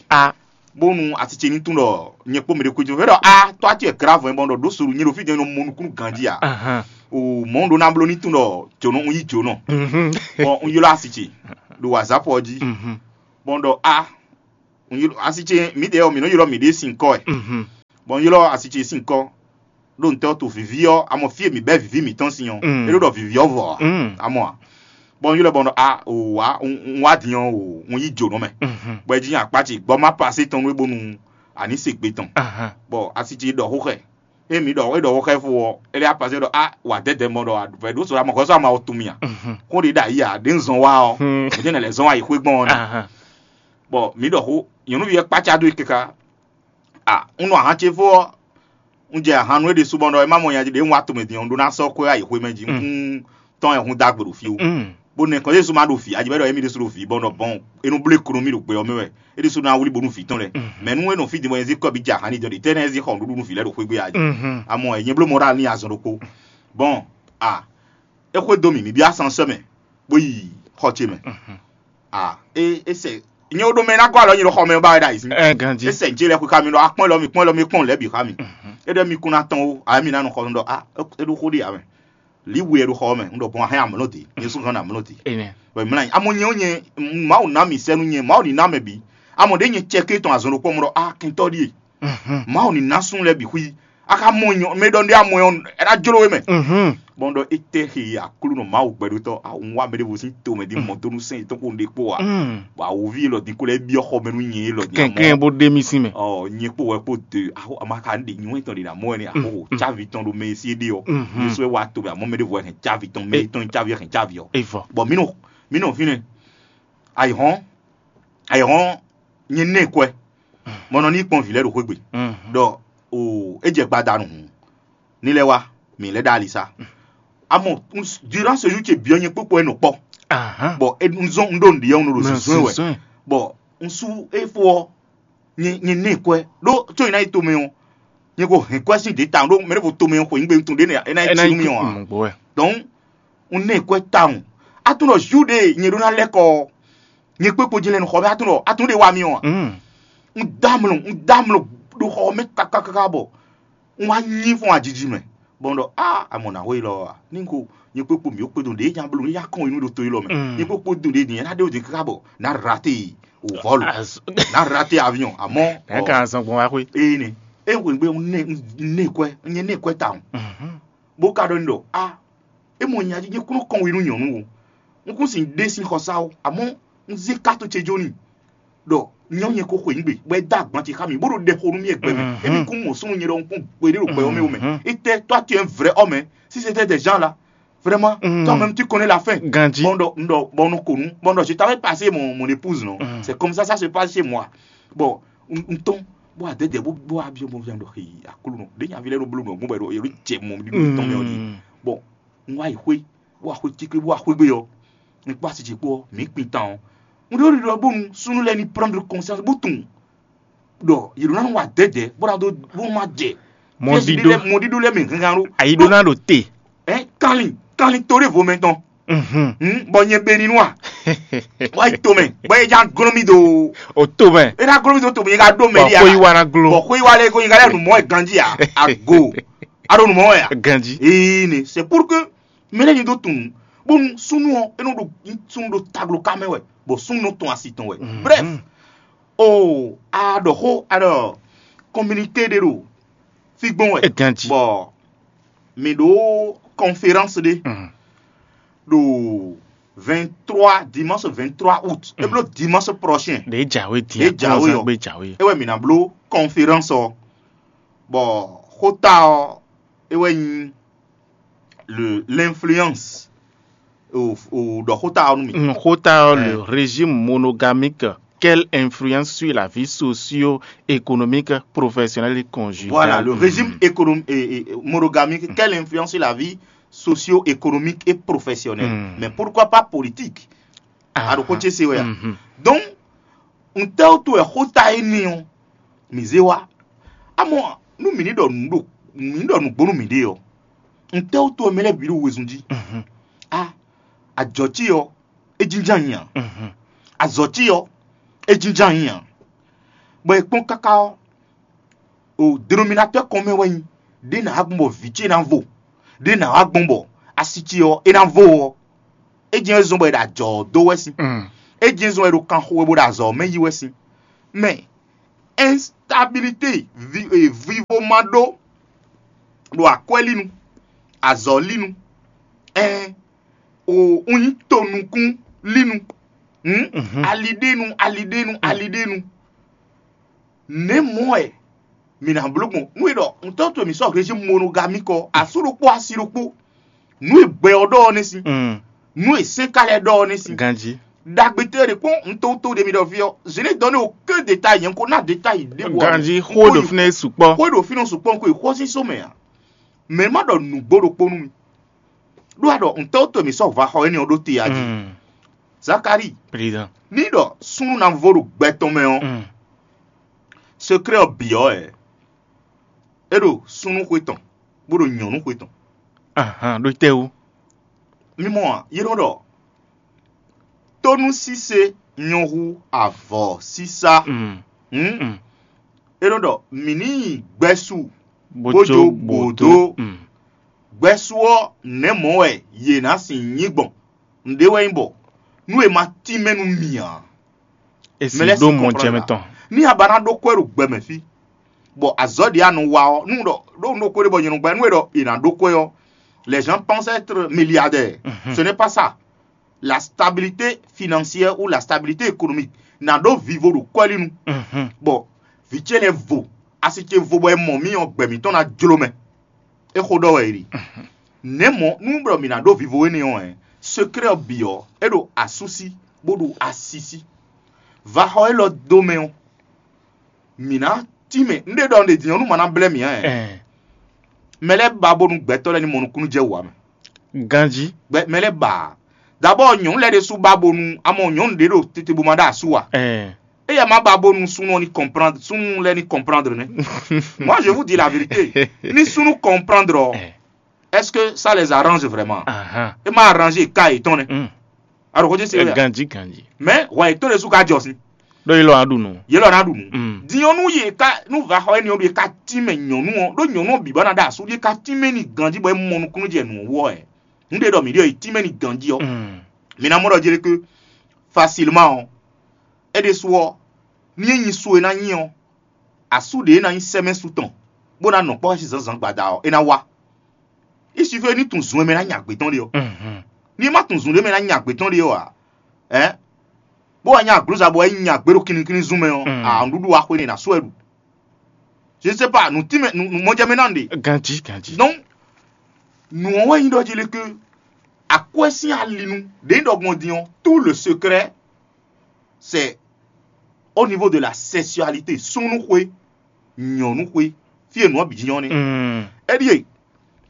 Bónú asi ce ní tunwun ɖɔ nyɛ kpó mɛ ɖé kwíjɔ fɛ ɖɔ a tɔ́ acɛ grave bɔ ɖɔ ɖó solu nyɛ ɖo fí jɛ nɔ mɔ nukúnnú ganjí a. O mɔ̌ ɖó ná bló ní tunwun ɖɔ jǒnɔ un yí jǒnɔ. Bɔ un ylɔ́ asi ce ɖo wazapɔ jí, bɔ un ɖɔ a Un ylɔ́ asi ce mǐdɛɛ ɔ́, mǐ nɔ ylɔ́ mǐɖée sin kɔ wɛ. Mhm. Bɔ un ylɔ́ asi ce sin kɔ ɖó ntɛ́ ɔ́ to vǐví ɔ́, a mɔ fí e mǐ bɛ́ vǐví mǐtɔn sin ɔ́, Mm. é ɖó ɖɔ vǐví ɔ́ vɔ ǎ. Mm. A mɔ a? Bɔ un ylɔ́ bɔ un ɖɔ a o wá un un wá din ɔ́ o un yí jǒnɔ mɛ. Mhm. Bɔ é jí nyi akpá ce gbɔ má pasé tɔn nú é bónú a ní se gbe tɔn. Ahan. Bɔ asi ce ɖɔ xó xɛ. É mǐ ɖɔ é ɖɔ xó xɛ fó ɔ́, é lɛ́ apasé ɖɔ a wǎ dɛdɛ mɔ ɖɔ vɛ ɖó so amɔ hɔ́sɔ ama ɔ tunwun mì a. Mhm. Xó ɖě ɖo ayǐ a ɖě un zɔn wá ɔ́, Hmm. mǐ tɛ́ nɛ lɛ́ zɔn wá yi xwé gbɔn ɔ́ nɛ. Ahan. Bɔ mǐ ɖɔ xó nyɔ̌nuví ɔ́ kpácá dó e káká. A un nɔ ahan ce fó ɔ́, un jɛ ahan nú é ɖésú bɔ ɖɔ é má mɔ nya ɖě un wá tomɛ din ɔ́, un ɖó ná sɔ́ xwé ayǐ xwé mɛ jí. Mm. Un tɔn ɛ hun dó agbe ɖo fí ó. Mm. Bó nɛ kɔn Jezu má ɖo vǐ, a jɛ bɔ é ɖɔ émí ɖésú ɖo vǐ bɔ nɔ bɔn é nú bló ekonomi ɖo gbɛ ɔ́ mɛ wɛ. É ɖésú ná wlí bónú vǐ tɔn lɛ́ɛ. Mhm. Mɛ nú é nɔ fí din bɔ é zí kɔ́ bǐ jɛ ahan ní jɔ ɖe tɛ́ nɛ́ é zí xɔ nǔɖuɖu nú vǐ lɛ́ɛ ɖo xwé gbe a jí. Mhm. A mɔ ɛ nyɛ bló mɔ ɖo alí azɔn ɖokpó. Bɔn a é xwedó mì mǐ byɔ́ asán sɛ́ mɛ bó yi xɔ ce mɛ. Mhm. A é é sɛ nyɛ ɖo mɛ ná gɔ́ alɔ nyi ɖo xɔ mɛ ɔ́ ba wɛ ɖo ayǐ sín. Ɛ ganjí. É sɛ njé lɛ́ xwé xá mi ɖɔ akpɔ́n lɔ mi kpɔ́n lɔ mi kpɔ́n lɛ̌ bǐ xá mi. Mhm. É ɖɔ mi kún ná tɔn ó a mi ná nɔ xɔ nú ɖɔ a é ɖó xó ɖe ǎ mɛ. Lǐ we ɖo xɔ ɔ́ mɛ un ɖɔ bɔn a hɛn amlɔ dě nyɛ sú hɛn amlɔ dě. Enɛ. Wɛ mlá nyi amɔ nyɛ ó nyɛ Mawu ná mi sɛ́ nú nyɛ Mawu ní ná mɛ bǐ. Amɔ ɖě nyɛ cɛ ké tɔn azɔn ɖokpó mɔ ɖɔ a kɛntɔ́ ɖíe. Mhm. Mawu ní ná súnnu lɛ́ɛ bǐ xwí. A ka mɔ nyɔ mɛ ɖɔ ɖé amɔ ɔ́, é ná jló we mɛ. Mhm. Bɔn ɖɔ étɛ́ he Aklúnɔ Mawu gbɛɖótɔ́ a un wá mɛ ɖěvo sín tomɛ ɖi mɔ dó nú sɛ́n yětɔn kpó un ɖe kpó a. Mm. Bɔ awǒvi élɔ́ din kó lɛ́ byɔ́ xɔ mɛ nú nyɛ élɔ́ din amɔ. Kɛnklɛ́n bó ɖe mì sín mɛ. Ɔ nyɛ kpó wɛ kpo de aho ama ka ɖe nyɔ tɔn ɖe na mɔ wɛ ni aho cavi tɔn ɖo mɛ si ɖe ɔ. Mhm. Yesu wɛ wa to bɛ amɔ mɛ ɖe vɔ hɛn cavi tɔn mɛ tɔn cavi hɛn cavi ɔ. Evɔ. Bɔn mi nɔ mi nɔ fínɛ. Ayihɔn ayihɔn nyɛ nɛ kwɛ. Mɔ nɔ ní kpɔn vǐ lɛ́ɛ ɖo xwé gbe. Mhm. Ɖɔ o é jɛ gbadanu hǔn ní lɛ́ wá mǐ lɛ́ ɖo ali sá. Amɔ durant ce jour ce byɔ́ nyɛ kpókpó ɛ nɔ kpɔ́. Ahan. Bɔ un zɔn un ɖo nǔɖiɖi ɔ́ un ɖo zǐnzɔ́n wɛ. Bɔ un sú éfó ɔ́ nyɛ nyɛ nɛ kwɛ ɖó có nyɛ ná yi tomɛ ɔ́ nyɛ ko hɛn kwɛ sín ɖě tawun ɖó mɛ ɖěvo tomɛ ɔ́ xweyǐgbe tun ɖě nɛ é ná yi Ena tinu mì ɔ́ ǎ. Mɔ gbɔ wɛ. Donc un nɛ kwɛ tawun. Atún ɖɔ jour ɖé nyɛ ɖó ná lɛ́ kɔ ɔ́ nyɛ kpé kpo jɛ́n lɛ́ nɔ xɔ mɛ atún ɖɔ atún ɖé wá mì ɔ́ ǎ. Mm. Un dó amlɔ un dó amlɔ ɖo xɔ mɛ kákákáká bɔ un wá nyí fɔ́n ajiji mɛ bɔ un ɖɔ a amɔ nǎ xó élɔ́ ɔ́ a ní ko nyɛ kpé kpo mǐ ó kpédun ɖě nya bló nya kɔn yi nú ɖo to élɔ́ mɛ. Mm. Nyɛ kpé kpo dun ɖě din ná ɖé wǒ din káká bɔ ná rate ò vɔ́lu. Ná rate avion àmọ́ ɛ ka zɔn gbɔn wá xwé. Eye nɛ eye xweyǐgbe un nɛ un nɛ kwɛ un nyɛ nɛ kwɛ tawun. Mhm. Bó ka ɖɔ ní ɖɔ a é mɔ nya jí nyɛ kún nɔ kɔn we nú nyɔ̌nu o. Un kún sin ɖé sín xɔsá o àmọ́ un zé káto ce jó n'i ɖɔ nyɔ́ nyɛ ko xweyǐgbe bɔ é dó agban ce xá mì bó ɖo ɖɛ xo nú mì e gbɛ mɛ. Mhm. Émi kún mɔ súnnu nyɛ ɖɔ un kún gbeɖé ɖo gbɛ ɔ́ mɛ o mɛ. Mhm. Étɛ́ toi tu es un vrai homme hein. Si c'était des gens là vraiment Mm. Toi-même tu connais la fin. Ganji. Bon donc donc bon nous connus bon donc je t'avais passé mon mon épouse non. Mm. C'est comme ça ça se passe chez moi. Bon n tɔn bó adɛdɛ bó bó abiɔ bó vian ɖo xeyi akulu nɔ ɖe nyavi lɛ ɖo blo nɔ gbɔn bɔ ɖo yɛlɛ jɛ mɔ ɖi ɖo tɔn mɛ ɔdi. Mm. Bon n wa yi xwe bó axwe cikli bó axwe gbe yɔ n kpó asi ce kpó mi kpin tan ɔ n ɖo ɖiɖɔ bónu súnú lɛ ni prendre conscience bó tunwun ɖɔ yě ɖo ná nɔ wa dɛdɛ bó ná dó bó má jɛ Mɔɖíɖó. Mɔɖíɖó lɛ mi hɛngan ɖó Ayi ɖó ná ɖo te. Ɛ kanlin kanlin to ɖé vo mɛ tɔn Mhm. Hmm, bɔ nyɛ be ni nua wa yi to mɛ bɔ e ja glɔn mi do O to mɛ. E na glɔn mi do to mɛ nyɛ ka do mɛ Bɔ di xo yi wa na glo. Bɔ xo yi wa lɛ ko nyɛ ka lɛ numɔ ɛ ganji a ago a ɖo numɔ ɛ a Ganji. Ee ne c'est pour que mɛ lɛ nyi do tun bonu sunu ɔ enu ɖo sunu ɖo taglo ka mɛ wɛ bɔ sunu tɔn asi tɔn wɛ bref o a ɖɔ xo a ɖɔ communiqué ɖe ɖo fi gbɔn wɛ E ganji. Bɔ mi ɖo conférence ɖe Mhm. ɖo vingt-trois dimanche vingt-trois août e blo dimanche prochain Ɖe jawe dia. Ɖe jawe Kɔnzan ɔ. Gbe jawe. E wɛ mi na blo conférence ɔ bɔ xota ɔ e wɛ nyi le l'influence o o ɖɔ xota ɔ nu mi. Nxota ɔ le Eh. Régime monogamique, quelle influence sur la vie socio-économique, professionnelle et conjugale? Voilà, le régime économique et, et, et monogamique, quelle influence sur la vie socio-économique et professionnelle? Mm. Mais pourquoi pas politique? Ah, Aɖo xó ce se wɛ a? Mhm. Donc, n tɛ o to ɛ xota e ni o, mi ze wa. Amɔ nu mi ni ɖɔ nu ɖo mi ni ɖɔ nugbo nu mi ɖe ɔ. N tɛ o to ɛ mi lɛ bi ɖo wezun ji. Mhm. A ajɔ ci ɔ, e jinjan nyi a? Mhm. Azɔ ci ɔ, e jinjan nyi a? Bɔ e kpɔn kaka ɔ, o denominateur commun wɛ nyi ɖe na gbɔn bɔ vǐ ce na vo ɖe na wa gbɔn bɔ asi ce ɔ e na vo ɔ e jɛn zɔn bɔ e ɖo ajɔ ɔ do wɛ sin Mm. E jɛn zɔn e ɖo kan xo wɛ bo ɖo azɔ mɛ yi wɛ sin Mɛ instabilité, vi- e, vivo ma ɖó ɖo akwɛ́línu, azɔ̌línu, ɛn o un nyí tonukún línu, hǔn aliɖénu, aliɖénu, aliɖénu. Nɛ̌ mɔ̌ wɛ mǐ ná bló gbɔn? Nú è ɖɔ ntɔ́ towe mǐ sɔ́ hlejí monogami kɔ, asú ɖokpó asi ɖokpó, nǔ e gbɛ ɔ́ ɖɔ ɔ́ nɛ́ sín, nǔ e sɛ́n ka lɛ́ɛ ɖɔ ɔ́ nɛ́ sín. Ganjí. Ɖagbe tɛ́ ɖe kpɔ́n un to to ɖe mi ɖɔ fí ɔ́, je n'ai donné aucun détail, nyɛ un ko ná détail ɖěbǔ ǎ. Ganjí, xó e ɖo fínɛ́ é sukpɔ́. Xó e ɖo fínɛ́ sukpɔ́ un ko yi xó sín só mɛ ǎ. Mɛ ma ɖɔ nǔgbó ɖokpó nú mi. Ɖó a ɖɔ ntɔ́ to mǐ sɔ́ va xɔ énɛ́ ɔ́ ɖó te a jí. Zakalíi, ní ɖɔ súnnu ná vo ɖo gbɛ tɔn mɛ ɔ́, sekrɛ́ ɔ́ bǐ ɔ́ wɛ é ɖo súnnu xwe tɔn, bó ɖo nyɔ̌nu xwe tɔn. Ahan, ɖó tɛ́ wú? Mí mɔ a? Yě nɔ ɖɔ tónúsíse nyɔ́ hú avɔ sísá. Hǔn é nɔ ɖɔ mǐ ní nyi gbɛsu bó jó bǒ dó. Gbɛsu ɔ́, nɛ̌ mɔ̌ wɛ yě ná sin nyí gbɔn? Nǔɖé wɛ nyí bɔ nú è ma tínmɛ nú mì ǎ, è sì mɛ lɛ́ɛ ɖó sin mɔ kɔnplán jɛmɛ tɔn. Ní a ba ná ɖó kwɛ́ ɖo gbɛ mɛ fí, bɔ azɔ̌ ɖě a nɔ wa ɔ́, nú ɖɔ ɖó un ɖó kwɛ́ ɖé bɔ nyɛ nɔ gbɛ́ nú è ɖɔ è nǎ ɖó kwɛ́ ɔ́, les gens pensent être milliardaires. Ce n'est pas ça. La stabilité financière ou la stabilité économique ná ɖó vivo ɖo kwɛ́ lí nu. Bɔ vǐ ce lɛ́ɛ vo, asi ce vo bɔ è mɔ mì ɔ́, gbɛ mǐtɔn ná jló mɛ. É xó ɖɔ wɛ è ɖi. Nɛ̌ mɔ̌ nú ɖɔ mǐ ná ɖó vivo énɛ́ ɔ́, sekrɛ́ ɔ́ bǐ ɔ́, é ɖo asúsí bó ɖo asisí. Vaxɔ élɔ́ dó mɛ ɔ́, mǐ ná tínmɛ. Un ɖe ɖɔ un ɖe din ɔ́, nú ma ná blɛ́ mǐ ǎ. Mɛ lɛ́ɛ ba bónú gbɛtɔ́ lɛ́ɛ ní mɔ nukúnnú jɛ wǔ ǎ mɛ. Ganjí. Gbɛ mɛ lɛ́ɛ ba ǎ. Dabɔ nyɔ̌nu lɛ́ɛ ɖésú ba bónú a mɔ nyɔ̌nu ɖě ɖo tete bó ma ɖó asú ǎ. Éyɛ́ má ba bónú súnnu ɔ́ ní comprendre, súnnu lɛ́ɛ ní comprendre nɛ́. Moi, je vous dis la vérité. Ní súnnu comprendre ɔ́, est-ce que ça les arrange vraiment? É má arranger ka yětɔn nɛ́. Aɖo xó ce se wɛ. Ganjí, ganjí. Mais hwɛ yětɔn ɖésú ka jɔ sín. Ɖó yě lɔ ná ɖu nǔ. Yě lɔ ná ɖu nǔ. Din ɔ́, nú yě ká nú va xɔ énɛ́ ɔ́ ɖu yě ká tín mɛ nyɔ̌nu ɔ́, ɖó nyɔ̌nu ɔ́ bǐ bá ná ɖó asú ɖé ká tín mɛ n'i ganjí bɔ é mɔ nukúnnú jɛ nǔ ɔ́ wú ɔ́, nǔ ɖé ɖɔ mǐ ɖe ɔ́, è tín mɛ n'i ganjí ɔ́, mǐ ná mɔ ɖɔ jí ɖé ké facilement ɔ́, é ɖésú ɔ́, ní é nyi su e ná nyi ɔ́, asú ɖě e ná nyí sɛ́mɛ́su tɔn, bó ná nɔ kpɔ́ xɛsi zǎnzǎn gbada ɔ́, é ná wá. Il suffit ní tunwun zun e mɛ ná nya gbě tɔn ɖe ɔ́. Ní é má tunwun zun ɖě mɛ ná nya gbě tɔn ɖe ɔ́ ǎ, ɛ̌, bó wá nya aglǔza bɔ é nya gbě ɖo kinnikínní zun mɛ ɔ́, ǎ, nǔɖuɖu wá xwé n'i ná sú wɛ ɖu. Je ne sais pas, nǔ tínmɛ nǔ nǔ mɔjɛmɛ ná ɖe. Ganjí, ganjí. Donc, nǔ ɔ́ wɛ nyí ɖɔ jí lé ké akwɛ́ sín alinu ɖě nyí ɖɔ gbɔn din ɔ́, tout le secret c'est au niveau de la sexualité, súnnuxwé, nyɔ̌nuxwé, fí e nǔ ɔ́ bǐ jínjɔ́n nɛ́. É ɖíe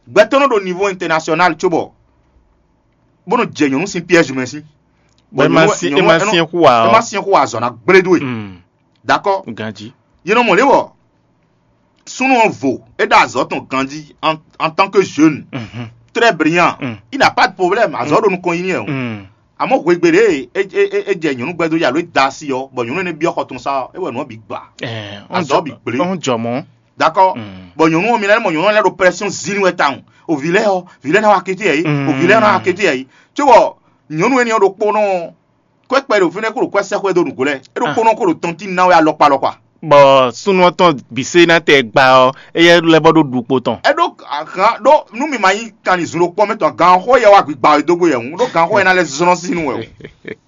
gbɛtɔ́ nɔ ɖo niveau international cóbɔ bó nɔ jɛ nyɔ̌nu sín piège mɛ sín. Bɔ é ma syɛ́n xú ǎ ɔ́, é ma syɛ́n xú ǎ azɔ̌ ná gblé dó e. D'accord. Ganjí. Yě nɔ mɔ lě wɔ súnnu ɔ́ vo, é ɖo azɔ̌ tɔn ganjí en tant que jeune, très brillant, il n'a pas de problème, azɔ̌ ɖo nukɔn nyi n'i wɛ o. Àmọ́ hwegbe ɖě e é jɛ nyɔ̌nu gbɛ́ dó ya alo é da asi ɔ́, bɔ nyɔ̌nu énɛ́ byɔ́ xɔ tɔn sá ɔ́, é wɛ nǔ ɔ́ bǐ gba. Azɔ̌ bǐ gblé. Ɔ́n jɔ mɔ̌. D'accord. Bɔ nyɔ̌nu ɔ́, mi ná mɔ nyɔ̌nu ɔ́ lɛ́ ɖo pression zín wɛ tawun. O vǐ lɛ́ɛ ɔ́, vǐ lɛ́ɛ ná wá kété yɛ yí. O vǐ lɛ́ɛ ná wá kété yɛ yí. Cóbɔ nyɔ̌nu énɛ́ ɔ́ ɖokpónɔ ɔ́, kwɛ́kpɛ ɖo fínɛ́ kó ɖo kwɛ́ sɛ́ xwɛ dó nǔgbó lɛ́ɛ. É ɖokpónɔ kó ɖo tɔntín ná wɛ alɔkpa alɔkpa. Bɔ súnnu ɔ́ tɔn bǐ sé ná tɛ gba ɔ́, éyɛ́ lɛ́ bɔ ɖó ɖu kpo tɔn. É ɖó ahan ɖó nú mi ma nyí kanlin zun ɖokpɔ mɛ tɔn, gan xó yɛ wá gbigba wɛ dó gbé yɛ hǔn, ɖó gan xó yɛ ná lɛ́ zlɔ́n sínú wɛ o.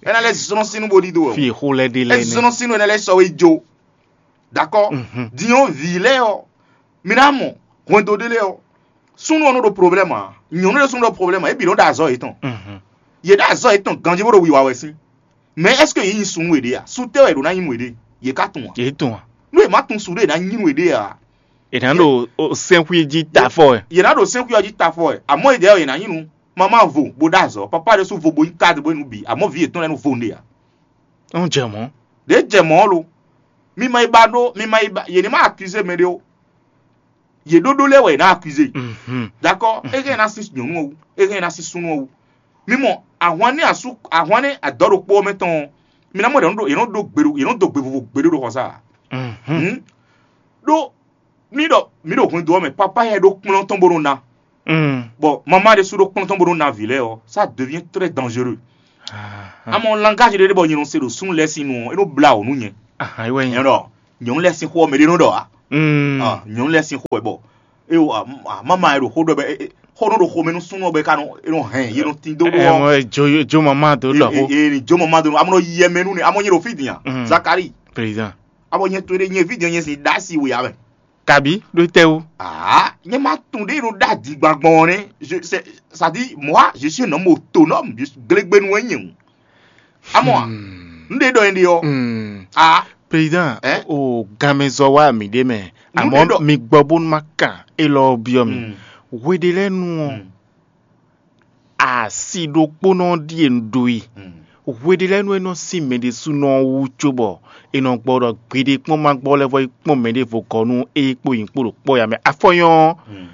É ná lɛ́ zlɔ́n sínú bó ɖidó wɛ o. Fí xó lɛ́ ɖe É lɛ́ nɛ́. Zlɔ́n sínú é ná lɛ́ sɔ́ wé jó. D'accord. Din ɔ́, vǐ lɛ́ɛ ɔ́, mi ná mɔ hwɛndo ɖé lɛ́ɛ ɔ́, súnnu ɔ́ nɔ ɖo problème ǎ, nyɔ̌nu ɖé súnnu ɖo problème ǎ, é bǐ nɔ ɖo azɔ̌ yětɔn. Yě ɖo azɔ̌ yětɔn ganjí bó ɖo wiwa wɛ sín. Mais est-ce que yě nyi súnnu yěɖée a? Sú tɛ́ wɛ è ɖǒ ná nyí nú yěɖée? Yě ká tunwun a? Yě tunwun a? Nú yě má tunwun sú ɖé è nǎ nyí nú yěɖée a? È nǎ ɖo sɛ́nxwí jí tafɔ wɛ. Yě ná ɖo sɛ́nxwí ɔ́ jí tafɔ wɛ, àmọ́ yě ɖɛ̌ ɔ́, yě ná nyí nú mama vo bó ɖó azɔ̌, papa ɖésú vo bó nyí cadre bó nyí nǔ bǐ, àmọ́ vǐ yětɔn lɛ́ɛ nú vo nú ɖe ǎ. Ń jɛ mɔ̌. Ɖě jɛ mɔ̌ lo. Mi ma yi ba ɖó, mi ma yi ba, yě ní ma accuser mɛ ɖé o. Yě ɖóɖó lɛ́ɛ wɛ yě ná accuser. D'accord. É hɛn ná sín nyɔ̌nu ɔ́ wú, é hɛn ná sín súnnu ɔ́ wú. Mi mɔ ahwan ní asú, ahwan ní adɔ̌ ɖokpó ɔ́ mɛ tɔn ɔ́, mi ná mɔ ɖě yě nɔ ɖó gbe ɖo, yě nɔ dó gbe vovo gbe ɖó ɖo xɔsá. Ɖó mí ɖɔ mí ɖo hwendo ɔ́ mɛ, papa yɛ ɖó kplɔ́n tɔn bó nɔ ná. Bɔ mama ɖésú ɖó kplɔ́n tɔn bó nɔ ná vǐ lɛ́ɛ ɔ́, ça devient très dangereux. Amɔ langage ɖé ɖé bɔ nyɛ nɔ se ɖo súnnu lɛ́ɛ sín nu ɔ́, é nɔ blá wǔ nú nyɛ. Ahan, é wɛ nyí. Nyɔnɔ, nyɔnu lɛ sin xo ɔmɛ ɖe nɔ ɖɔ a. Mm. Ah, nyɔnu lɛ sin xo ɛ bɔ. E o, ah, mama ɛ ɖo xó ɖɔ bɛ, e, e, xó nɔ ɖo xomɛ nú súnú ɔbɛ ka nɔ, e nɔ hɛn, ye nɔ tin dó Ɛ, ɖo. mɔ, jo, jo mama dó lɔ xó. E ni jo mama dó. Amɔ nɔ yɛ mɛ nú ne, amɔ nyɛ ɖo fí din a. Mm. Zakari, Président. Amɔ nyɛ to ɖe nyɛ vi din nyɛ sin ɖa si we a mɛ. Kabi ɖó tɛ wú. Ah, nyɛ ma tun ɖe nɔ ɖa di gbangbɔn ne. Je, c'est, ça dit, moi, je suis un homme autonome, je suis glégbénu wɛ nyɛ. Amɔ a, n ɖe ɖɔ yɛn ɖe ɔ. Mm. Ah, Président, Ɛ? O ganmɛzɔ wá mi ɖe mɛ. Nú Àmọ́ ɖe ɖɔ- mi gbɔ bónú má kan élɔ́ ɔ́ byɔ́ mi. Mm. Hweɖelɛ́nu ɔ́, Mm. asi ɖokpónɔ ɖíe un ɖó yi. Mm. Hweɖelɛ́nu e nɔ sín mɛ ɖésúnɔ ɔ́ wú cóbɔ è nɔ gbɔ ɖɔ gbeɖé kpɔ́n ma gbɔ lɛ́ vɔ yi kpɔ́n mɛ ɖěvo gɔ́ nú é kpó nyǐ kpó ɖo kpɔ́ ya mɛ. Afɔnyɔ́ ɔ́, Mm.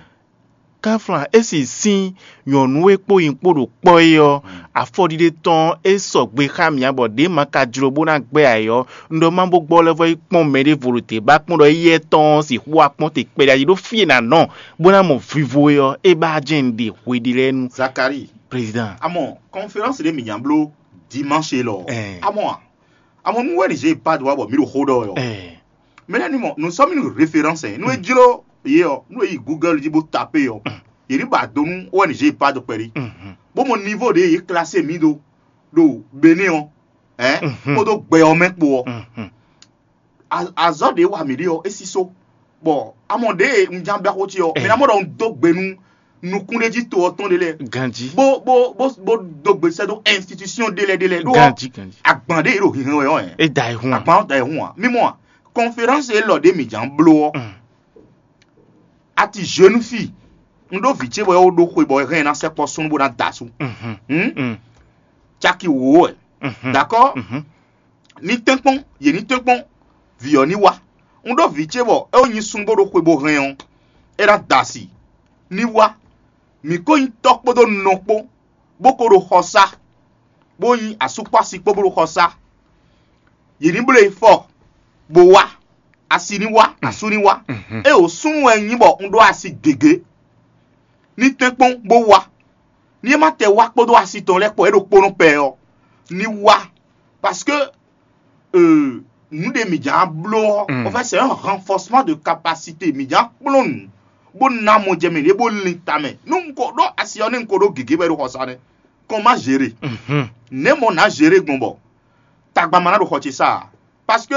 Káflán é sì sín nyɔ̌nu e kpó nyǐ kpó ɖo kpɔ́ é ɔ́, afɔɖiɖe tɔn é sɔgbe xá mì ǎ bɔ ɖě ma ka jló bó ná gbɛ́ ayǐ ɔ́, un ɖɔ má bó gbɔ lɛ́ vɔ yi kpɔ́n mɛ ɖěvo ɖo te bá kpɔ́n ɖɔ éyɛ́ tɔn ɔ́ sixú wá kpɔ́n te kpɛɖé ayi ɖó fí e nǎ nɔ bó ná mɔ vivo é ɔ́, é bá jɛ́n un ɖe hweɖelɛ́nu. Zakari, Président. Amɔ conférence ɖe mǐ nya bló dimanche lɔ. Ɛɛ. Amɔ a, amɔ nú wɛ ní zé pas droit bɔ mǐ ɖo xó ɖɔ yɔ. Ɛɛ. Mɛ lɛ́ɛ ní mɔ, nous sommes une référence, hein. Nú é jló yě ɔ́, nú é yi Google jí bó tapé ɔ́, yě ní ba do nú O N G pas de kpɛɖé. Mhm. Bó mɔ niveau ɖě yě classé mǐ ɖó ɖo Bénin ɔ́, hein, Mhm. kpódó gbɛ ɔ́ mɛ kpo ɔ́. Mhm. A- azɔ̌ ɖě wa mǐ ɖe ɔ́, é sísó. Bɔ amɔ ɖě un ján bɛ́ xó ce ɔ́, Eh. mɛ ná mɔ ɖɔ un dó gbe nú nukúnɖéjí to ɔ́ tɔn ɖé lɛ́ɛ. Ganji. Bó bó bó bó dó gbe sɛ́ dó institution ɖé lɛ́ɛ ɖé lɛ́ɛ ɖó ɔ́, Ganji, ganji. Agban ɖé e ɖo hinhɛn wɛ ɔ́, ɛ. É da ɛ hun. Agban ɔ́ da ɛ hun a. Mímɔ a, conférence élɔ́ ɖé mǐ ján bló ɔ́, Mm. a ti jeune fille, un ɖó vǐ ce bɔ é wó ɖó xwe bɔ é hɛn ná sɛkpɔ́ súnnu bó ná da asú. Mhm. Hmm? Mm. Caki wǒ wɛ. Mhm. D'accord? Mhm. Ní tɛ́nkpɔ́n, yě ní tɛ́nkpɔ́n, vǐ ɔ́ ní wá. Un ɖó vǐ ce bɔ é wó nyi súnnu bó ɖó xwe bó hɛn ɔ́, é ná da asi. Ní wá. Mǐ ko nyí tɔ́ kpódó nɔ kpó, bó ko ɖo xɔ sá, bó nyí asú kpó asi kpó bó ɖo xɔ sá. Yě ní bló e fɔ, bó wá. Asi ní wá, asú ní wá. Mhm. É o súnnu wɛ nyí bɔ un ɖó asi gěgé. Ní tɛ́nkpɔ́n bó wá. Ní é má tɛ wá kpódó asi tɔn lɛ́ɛ kpó é ɖo kpónɔ pɛ ɔ́, ní wá. Parce que euh, nǔ ɖe mǐ ján bló ɔ́, Mm. en fait, c'est un renforcement de capacité. Mǐ ján kplɔ́n nǔ, bó ná mɔ jɛ mɛ ɖě bó lin tamɛ. Nú un ko ɖó asi ɔ́, ní un ko ɖó gěgé bɔ é ɖo xɔsa nɛ́. Kɔn má zěɖe. Mhm. Nɛ̌ mɔ nǎ zěɖe gbɔn bɔ tagba ma ná ɖo xɔ ce sá ǎ? Parce que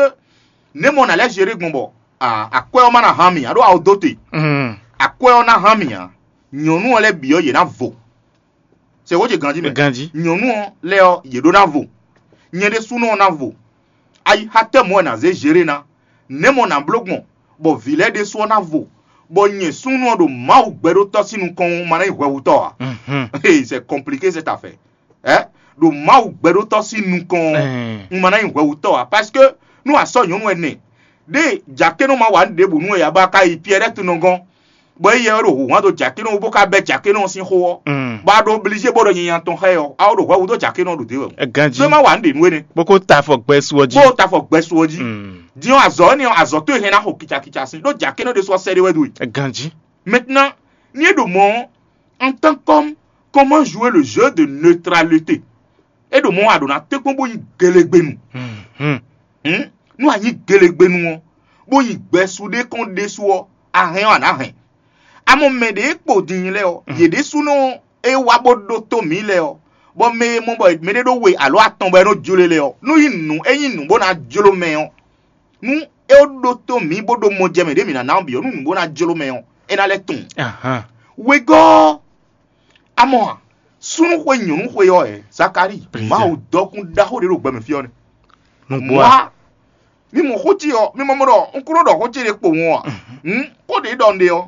nɛ̌ mɔ nǎ lɛ́ zěɖe gbɔn bɔ a- akwɛ́ ɔ́ má ná hán mì, aɖó awo dó te. Mm. Akwɛ́ ɔ́ ná hán mì ǎ. Nyɔ̌nu ɔ́ lɛ́ɛ bǐ ɔ́, yě ná vo. Sɛ xó ce ganjí mɛ. Ganji. Nyɔ̌nu ɔ́ lɛ́ɛ ɔ́, yě ɖó ná vo. Nyɛ ɖésúnɔ ɔ́ ná vo. Ayi xá tɛ́ mɔ̌ wɛ nǎ zé zěɖé ná? Nɛ̌ mɔ nǎ bló gbɔn, bɔ vǐ lɛ́ɛ ɖésú ɔ́ ná vo, bɔ nyɛ súnnu ɔ́ ɖo Mawu gbɛɖótɔ́ sín nukɔn ɔ́, un ma ná nyí hwɛhutɔ́ ǎ? Mhm. Hey, c'est compliqué cette affaire. Ɛ ɖo Mawu gbɛɖótɔ́ sín nukɔn ɔ́, Ɛɛ. un ma ná nyí hwɛhutɔ́ ǎ, parce que nú a sɔ́ nyɔ̌nu ɛnɛ ɖé jakénɔ ma wa nǔ ɖěbǔ nú wɛ ǎ bɔ a ka yi Pierrette nɔ gɔ́n, bɔ éyɛ́ wɛ ɖo hǔhán dó jakénɔ wú bó ka bɛ́ jakénɔ ɔ́ sín xó ɔ́, Mm. bɔ a ɖo oblizé bó ɖɔ nyanya tɔn xá ɛ ɔ́, a ó ɖo hwɛhutɔ́ jakénɔ ɔ́ ɖo dě wɛ. Ɛ, ganji. Ɖó é má wa nǔ ɖě nú énɛ́. Bó ko ta afɔ gbɛ su ɔ́ jí. Bó ta afɔ gbɛ su ɔ́ jí. Mm. Din ɔ́, azɔ̌ énɛ́ ɔ́, azɔ̌ towe hɛn ná xo kicakica sín, ɖó jakénɔ ɖésú ɔ́ sɛ́ ɖé wɛ ɖó e. Ɛ, ganji. Maintenant, ní é ɖo mɔ̌ ɔ́, en tant qu'homme, comment jouer le jeu de neutralité? É ɖo mɔ̌ a ɖǒ ná tɛ́nkpɔ́n bó nyí gelegbenu. Mhm. Hmm? Nú a nyí gelegbenu ɔ́, bó nyí gbɛsu ɖé kɔn ɖésú ɔ́, a hɛn ɔ́, a nǎ hɛn. Amɔ mɛ ɖě e kpo din lɛ́ɛ ɔ́, yě ɖésúnɔ é wá bó ɖótó mǐ lɛ́ɛ ɔ́, bɔ mɛ e mɔ bɔ mɛɖé ɖó we alo atɔn bɔ é nɔ jló e lɛ́ɛ ɔ́, nú nyí nǔ é nyí nǔ bó ná jló mɛ ɔ́, nú é ɖótó mǐ bó ɖó mɔjɛmɛ ɖě mǐ ná ná ɔ́ bǐ ɔ́, nú nǔ bó ná jló mɛ ɔ́, é ná lɛ́ tunwun. Ahan. Wegɔ́ ɔ́, amɔ a, súnnu xwe nyɔ̌nu xwe ɔ́, ɛ, Zakalíi, Président. Mawu dɔkun ɖaxó ɖé ɖo gbɛ mɛ fí ɔ́ nɛ́. Nugbo a. Wá, mi mɔ xó ce ɔ́, mi mɔ mɔ ɖɔ un kúrò ɖɔ xó ce ɖé kpo wɔn a. Hmm? Xó ɖě ɖɔ un ɖe ɔ́,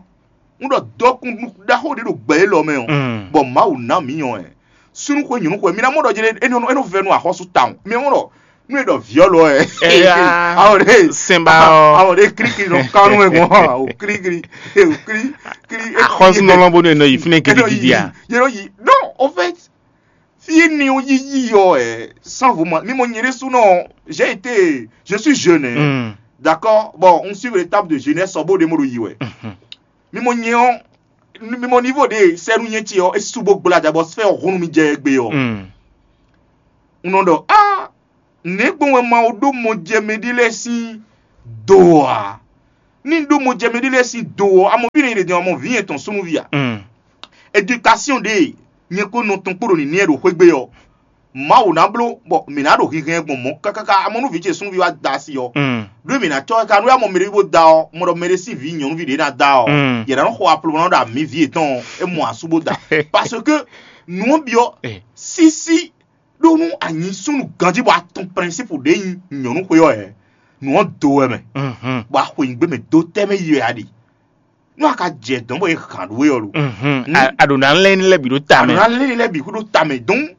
un ɖɔ dɔkun ɖaxó ɖé ɖo gbɛ élɔ́ mɛ ɔ́, Mm. bɔ Mawu ná mǐ nyɔ ɛ. Súnnu xwe nyɔ̌nu xwe, mi ná mɔ ɖɔ jɛɖɛ é nɔ é nɔ vɛ nú axɔ́sú tawun. Mi mɔ ɖɔ nú e ɖɔ vǐ ɔ́ lɔ ɛ. Eya. Awo ɖe. Sɛnba ɔ́. Awo ɖe kirikiri nɔ kánú ɛ gbɔn. O kirikiri. O kiri. Kiri. Axɔ́súnɔlɔ bó nɔ yi fínɛ́ gidigidi a. Yɛrɛ yi. Non, en fait, fii ni o yiyi yɔ ɛ, sans vous mentir, mi mɔ nyɛ ɖésúnɔ, j'ai été, je suis jeune, hein. Mm. D'accord? Bon, on suit l'étape de jeunesse, ɔ bó ɖe mo ɖo yi wɛ. Mhm. Mi mɔ nyɛ ɔ, mi mɔ niveau de sɛnu nyɛ ce ɔ, esu bo gbla ja bɔ sfɛ ɔ hunu mi jɛ egbe ɔ. Mm. Un nɔ ɖɔ, ah, Nɛ̌ gbɔn wɛ Mawu ɖó mɔjɛmɛ ɖé lɛ́ɛ sín do ǎ? Ní ɖó mɔjɛmɛ ɖé lɛ́ɛ sín do ɔ́, a mɔ fí nɛ́ è ɖe din ɔ́, a mɔ vǐ nyɛ tɔn súnnuví a? Edukasiɔn ɖě nyɛ kpó nɔ tɔn kpó ɖo nǐnɛ́ ɖo xwé gbe ɔ́, Mawu ná bló bɔ mǐ ná ɖo hinhɛn gbɔn mɔ̌ káká. A mɔ nú vǐ ce súnnuví wá da asi ɔ́, ɖó mǐ ná cɔ́ ɛ ká nú é, a mɔ mɛɖé bó da ɔ́, mɔ ɖɔ mɛɖé sín vǐ nyɔ̌nuví ɖě ná da ɔ́, yě ná nɔ xo aplomɔ ná ɖo ami vǐ yětɔn ɔ́, é mɔ asú bó da. Parce que nǔ ɔ́ byɔ́ sísí ɖó nú a nyí súnnu ganjí bɔ a tunwun prɛnsípu ɖě nyí nyɔ̌nu xwe ɔ́ hɛ̌, nǔ ɔ́ do wɛ mɛ, bɔ a xwe nyǐgbe mɛ dó tɛ́ mɛ yi wɛ a ɖe. Nú a ka jɛ dɔ̌n bɔ è hǎn ɖó we ɔ́ lo. A ɖǒ ná lɛ́n ní lɛ́ bǐ ɖó ta mɛ. Ná lé lɛ́ bǐ xú ɖó ta mɛ dɔn.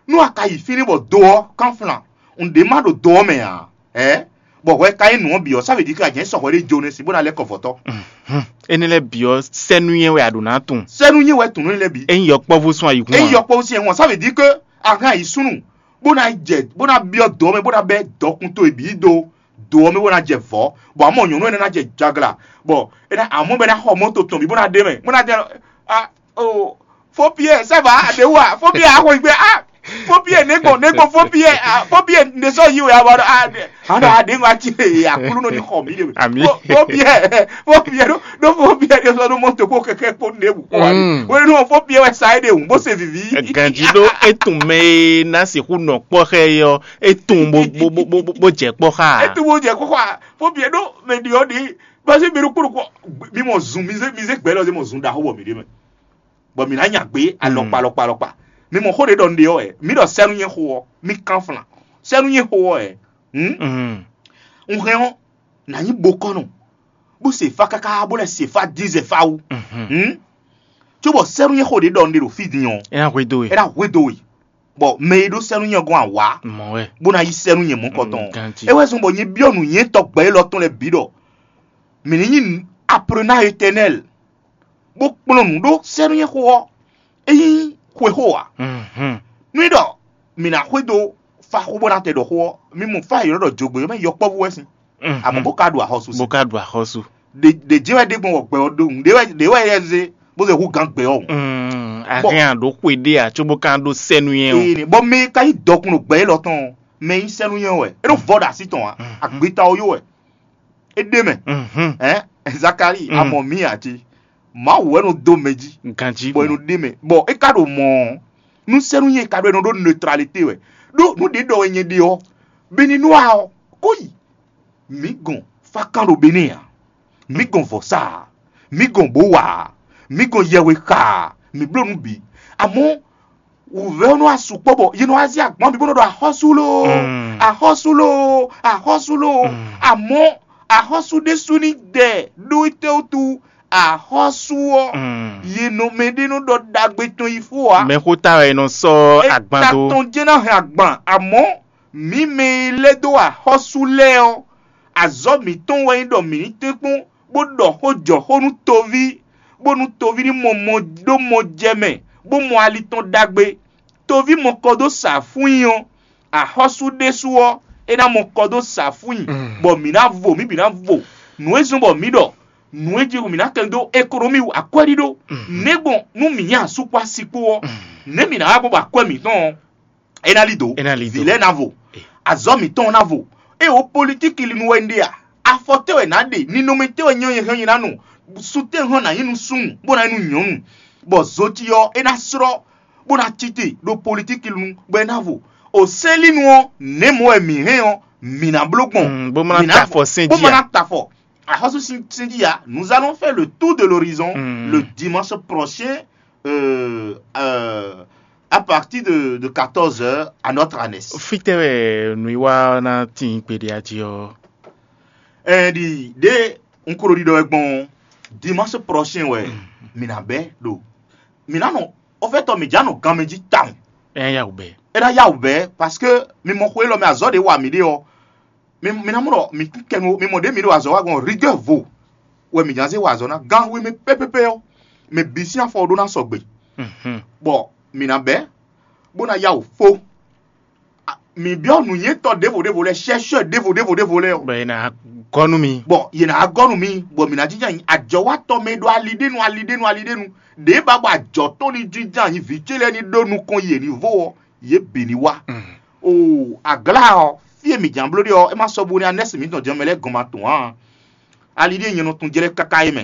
Nú a ka yi fínɛ́ bɔ do ɔ́ kánflan, un ɖě má ɖo do ɔ́ mɛ ǎ, ɛ bɔ hwɛ ka nyí nǔ ɔ́ bǐ ɔ́, sá vě jí ké a jɛ̌n sɔ hwɛ ɖé jó nɛ́ sin bó ná lɛ́ kɔ vɔ̌tɔ́. Énɛ́ lɛ́ɛ bǐ ɔ́, sɛ́núnyɛ wɛ a ɖǒ ná tunwun. Sɛ́núnyɛ wɛ tunwun énɛ́ lɛ́ɛ bǐ. Ényí yɔkpɔ́vú sún ayǐhún Ényí yɔkpɔ́vú sín ɛhún ɔ́, sá vě jí ké a hɛn ayi súnnu bó ná jɛ bó ná byɔ́ dɔ̌ mɛ bó ná bɛ́ dɔkun towe bǐ dó dǒ ɔ́ mɛ bó ná jɛ vɔ̌, bɔ amɔ̌ nyɔ̌nu énɛ́ ná jɛ jaglǎ, bɔ é ná amɔ̌ bɔ é ná xɔ mɔ́to tɔn bǐ bó ná ɖe mɛ, bó ná jɛ a o fó Piyɛ́ɛ sɛ́ vǎ a ɖě wú a fó Piyɛ́ɛ a xo yi gbé a fó Piyɛ́ɛ nɛ̌ gbɔn nɛ̌ gbɔn fó Piyɛ́ɛ a fó Piyɛ́ɛ nɛ̌ sɔ́ yí wɛ a wá ɖɔ a ɖe a ɖě ŋɔ ati e Aklúnɔ ní xɔ mǐ ɖe mɛ. Àmín. Fó Piyɛ́ɛ fó Piyɛ́ɛ ɖó ɖó fó Piyɛ́ɛ ɖó sɔ́ ɖó mɔ́to kpó kɛkɛ́ kpó ɖěbǔ kpó wá. Wénú ɔ́ fó Piyɛ́ɛ wɛ sa é ɖe wǔ bó se vǐví. Ganjí ɖó é tunwun mɛ e ná sixú nɔ kpɔ́ xá ɛ ɔ́, é tunwun bó bó bó bó bó jɛ kpɔ́ xá. É tunwun bó jɛ kpɔ́ xá fó Piyɛ́ɛ ɖó mɛ ɖi ɔ́ ɖi. Basi mi ɖo kúrò kɔ mi mɔ zun mi zé mi zé gbɛ lɔ zé mɔ zun ɖaxó bɔ mi ɖe mɛ bɔ mi ná nya gbé alɔkpa alɔkpa alɔkpa. Mi mɔ xó ɖé ɖɔ un ɖe ɔ́ ɛ mi ɖɔ sɛ́nú nyɛ xo ɔ́ mi kán flan sɛ́nú nyɛ xo ɔ́ ɛ. Un hɛn ɔ́ nà nyí bokɔ́nɔ bó se fá káká bó lɛ́ se fá dín zɛ fá wú. Cóbɔ sɛ́nú nyɛ xó ɖé ɖɔ un ɖe ɖo fí din ɔ́ É ná hwedó we. É ná hwedó we. Bɔ mɛ e ɖó sɛ́nú nyɛ gɔ́n awǎ Mɔ̌ wɛ. Bó ná yí sɛ́nú nyɛ mɔ̌kɔtɔn. Ganti. É wɛ zɔ́n bɔ nyɛ byɔ́ nǔnywɛ́tɔ́ gbɛ̌ élɔ́ tɔn lɛ́ɛ bǐ ɖɔ mǐ ní nyí aprenɔ étɛnɛ́l bó kplɔ́n nǔ ɖó sɛ́nú nyɛ xó ɔ́, é nyí xwexó ǎ. Mhm. Nú é ɖɔ mǐ ná xwedó faxó bó ná tɛ ɖɔ xó ɔ́, mi mɔ fá e ylɔ́ ɖɔ jǒgbé ɔ́ mɛ yɔkpɔ́vú wɛ sín. Mhm. Amɔ̌ bó ka ɖu axɔ́sú Bó sín. Ka ɖu axɔ́sú. Ɖe ɖe jɛ́n wɛ ɖe gbɔn wɔ gbɛ ɔ́ ɖo nǔɖé wɛ ɖě wɛ yɛ zé bó zɛ hú gǎn gbɛ ɔ́. Mm, Bɔ- Ahɛn aɖǒ xwe ɖé ǎ cóbó ka ɖó sɛ́nú nyɛ o. Ee, bɔ mɛ e ka nyí dɔkun ɖo gbɛ élɔ́ tɔn ɔ́, mɛ e nyí sɛ́nú nyɛ wɛ é ɖo vɔ ɖo así tɔn ǎ, agbeta ɔ́ yó wɛ é ɖe mɛ. Mhm. Ɛn Zakalíi, Mm. a mɔ mǐ ǎ ce, Mawu wɛ nɔ dó mɛ jí, Ganjí bɔ è nɔ ɖe mɛ, bɔ é ka ɖo mɔ̌ ɔ́, nú sɛ́nú nyɛ ka ɖɔ è nɔ ɖó neutralité wɛ, ɖó nǔ ɖě ɖɔ wɛ nyɛ ɖe ɔ́, Beninoa ɔ́, kó yi. Mǐ gɔn fákan ɖo Benɛ́ɛ ǎ, mǐ gɔn vɔ̌sa ǎ, mǐ gɔn bǒ wa ǎ, mǐ gɔn yɛhwe xa ǎ, mǐ bló nǔ bǐ. Amɔ̌ wǔvɛ́ ɔ́ nɔ wá sukpɔ́ bɔ yě nɔ wá zé agban bǐ bó nɔ ɖɔ axɔ́sú loo, Mm. Axɔ́sú loo, axɔ́sú loo. Mm. Amɔ̌ axɔ́sú ɖésú ní dɛ ɖó étɛ́wútu axɔ́sú ɔ́, Mm. Yě nɔ mɛ ɖé nɔ ɖɔ ɖagbe tɔn yi fó ǎ. Mɛxóta wɛ è nɔ sɔ́ agban dó. Tɔn jɛ́n ná hɛn agban, amɔ̌ mǐ mɛ e lɛ́ dó axɔ́sú lɛ́ɛ ɔ́, azɔ̌ mǐtɔn wɛ nyí ɖɔ mǐ ní tɛ́nkpɔ́n bó ɖɔ xó jɔ xó nú toví, bónú toví ní mɔ mɔ ɖó mɔ jɛ mɛ, bó mɔ ali tɔn ɖagbe. Toví mɔ kɔ dó sa fún nyi ɔ́, axɔ́sú ɖésú ɔ́, é ná mɔ kɔ dó sa fún nyi, Mm. Bɔ mǐ ná vo, mǐ bǐ ná vo. Nǔ e zɔ́n bɔ mǐ ɖɔ nǔ e jí mǐ ná kɛn dó ekonomi wú akwɛ́ɖíɖó. Mm. Nɛ̌ gbɔn nú mǐ nyí asú kpó asi kpó ɔ́, Mm. Nɛ̌ mǐ ná wá gbɔn bɔ akwɛ́ mǐtɔn ɔ́, é ná lí dǒ. É ná lí dǒ. Vǐ lɛ́ɛ ná vo. Azɔ̌ mǐtɔn ná vo. Ée wǒ politikilinu wɛ un ɖe a? Afɔ tɛ́ wɛ nǎ ɖe? Ninɔmɛ tɛ́ wɛ nyɛ hɛn nyi ná nu? Sun tɛ́ hɔn nǎ nyí nú súnnu bó ná nyí nú nyɔ̌nu, bɔ zo ce ɔ́ é ná slɔ́ bó ná cí te ɖo politikilinu bɔ é ná vo. O sɛ́nlínu ɔ́, nɛ̌ mɔ̌ wɛ mǐ hɛn ɔ́, mǐ ná bló gbɔn. Mm, bó má ná ta afɔ sɛ́n jí a? Bó má ná ta afɔ. Axɔ́sú sín sɛ́n jí a? Nous allons faire le tour de l'horizon, mm, le dimanche prochain, euh, euh, à partir de, de quatorze heures à notre ânesse. Fítɛ́ wɛ nǔwiwa ná tín kpeɖé ají ɔ́? Ɛɛ ɖi ɖě un ko ɖo ɖiɖɔ wɛ gbɔn dimanche prochain wɛ, mm, mǐ ná bɛ́ ɖo mǐ ná nɔ, en fait, mǐ já nɔ ganmɛ jí tawun. Ɛ yá wǔ bɛ́. É ná yá wǔ bɛ́ parce que mi mɔ xwe élɔ́ mɛ azɔ̌ ɖě wa mǐ ɖe ɔ́, mi mi ná mɔ ɖɔ mǐ kɛnu mi mɔ ɖě mǐ ɖo azɔ̌ wa gbɔn rigueur vo wɛ mǐ ná zé wa azɔ̌ ná gán hwe mɛ pɛ́pɛ́pɛ́ ɔ́, mɛ bǐ sín afɔ ɖó ná sɔgbe. Mhm. Bɔ mǐ ná bɛ́ bó ná yá wǔ fó. Mǐ byɔ́ nǔnywɛ́tɔ́ ɖěvo ɖěvo lɛ́ɛ, chercheur ɖěvo ɖěvo ɖěvo lɛ́ɛ ɔ́. Bɔ è nǎ gɔ́ nú mi. Bɔ yě nǎ gɔ́ nú mi, bɔ mǐ ná jínjɔ́n ayǐ ajɔ̌watɔ́ mɛ e ɖo ali ɖé nu ali ɖé nu ali ɖé nu ɖě ba bɔ ajɔ̌ tɔn ní jínjɔ́n ayǐ vǐ ce lɛ́ɛ ní ɖó nukɔn yě ní vo ɔ́, yě bǐ ní wá. Mm. O aglá ɔ́, Fí e mǐ jǎn bló ɖe ɔ́, é má sɔ́ bú nú anɛ́si mǐtɔn jɛ́n mɛ lɛ́ɛ gɔn ma tɔn ǎ. Ali ɖíe nyɛ nɔ tunwun jlɛ́ káká é mɛ.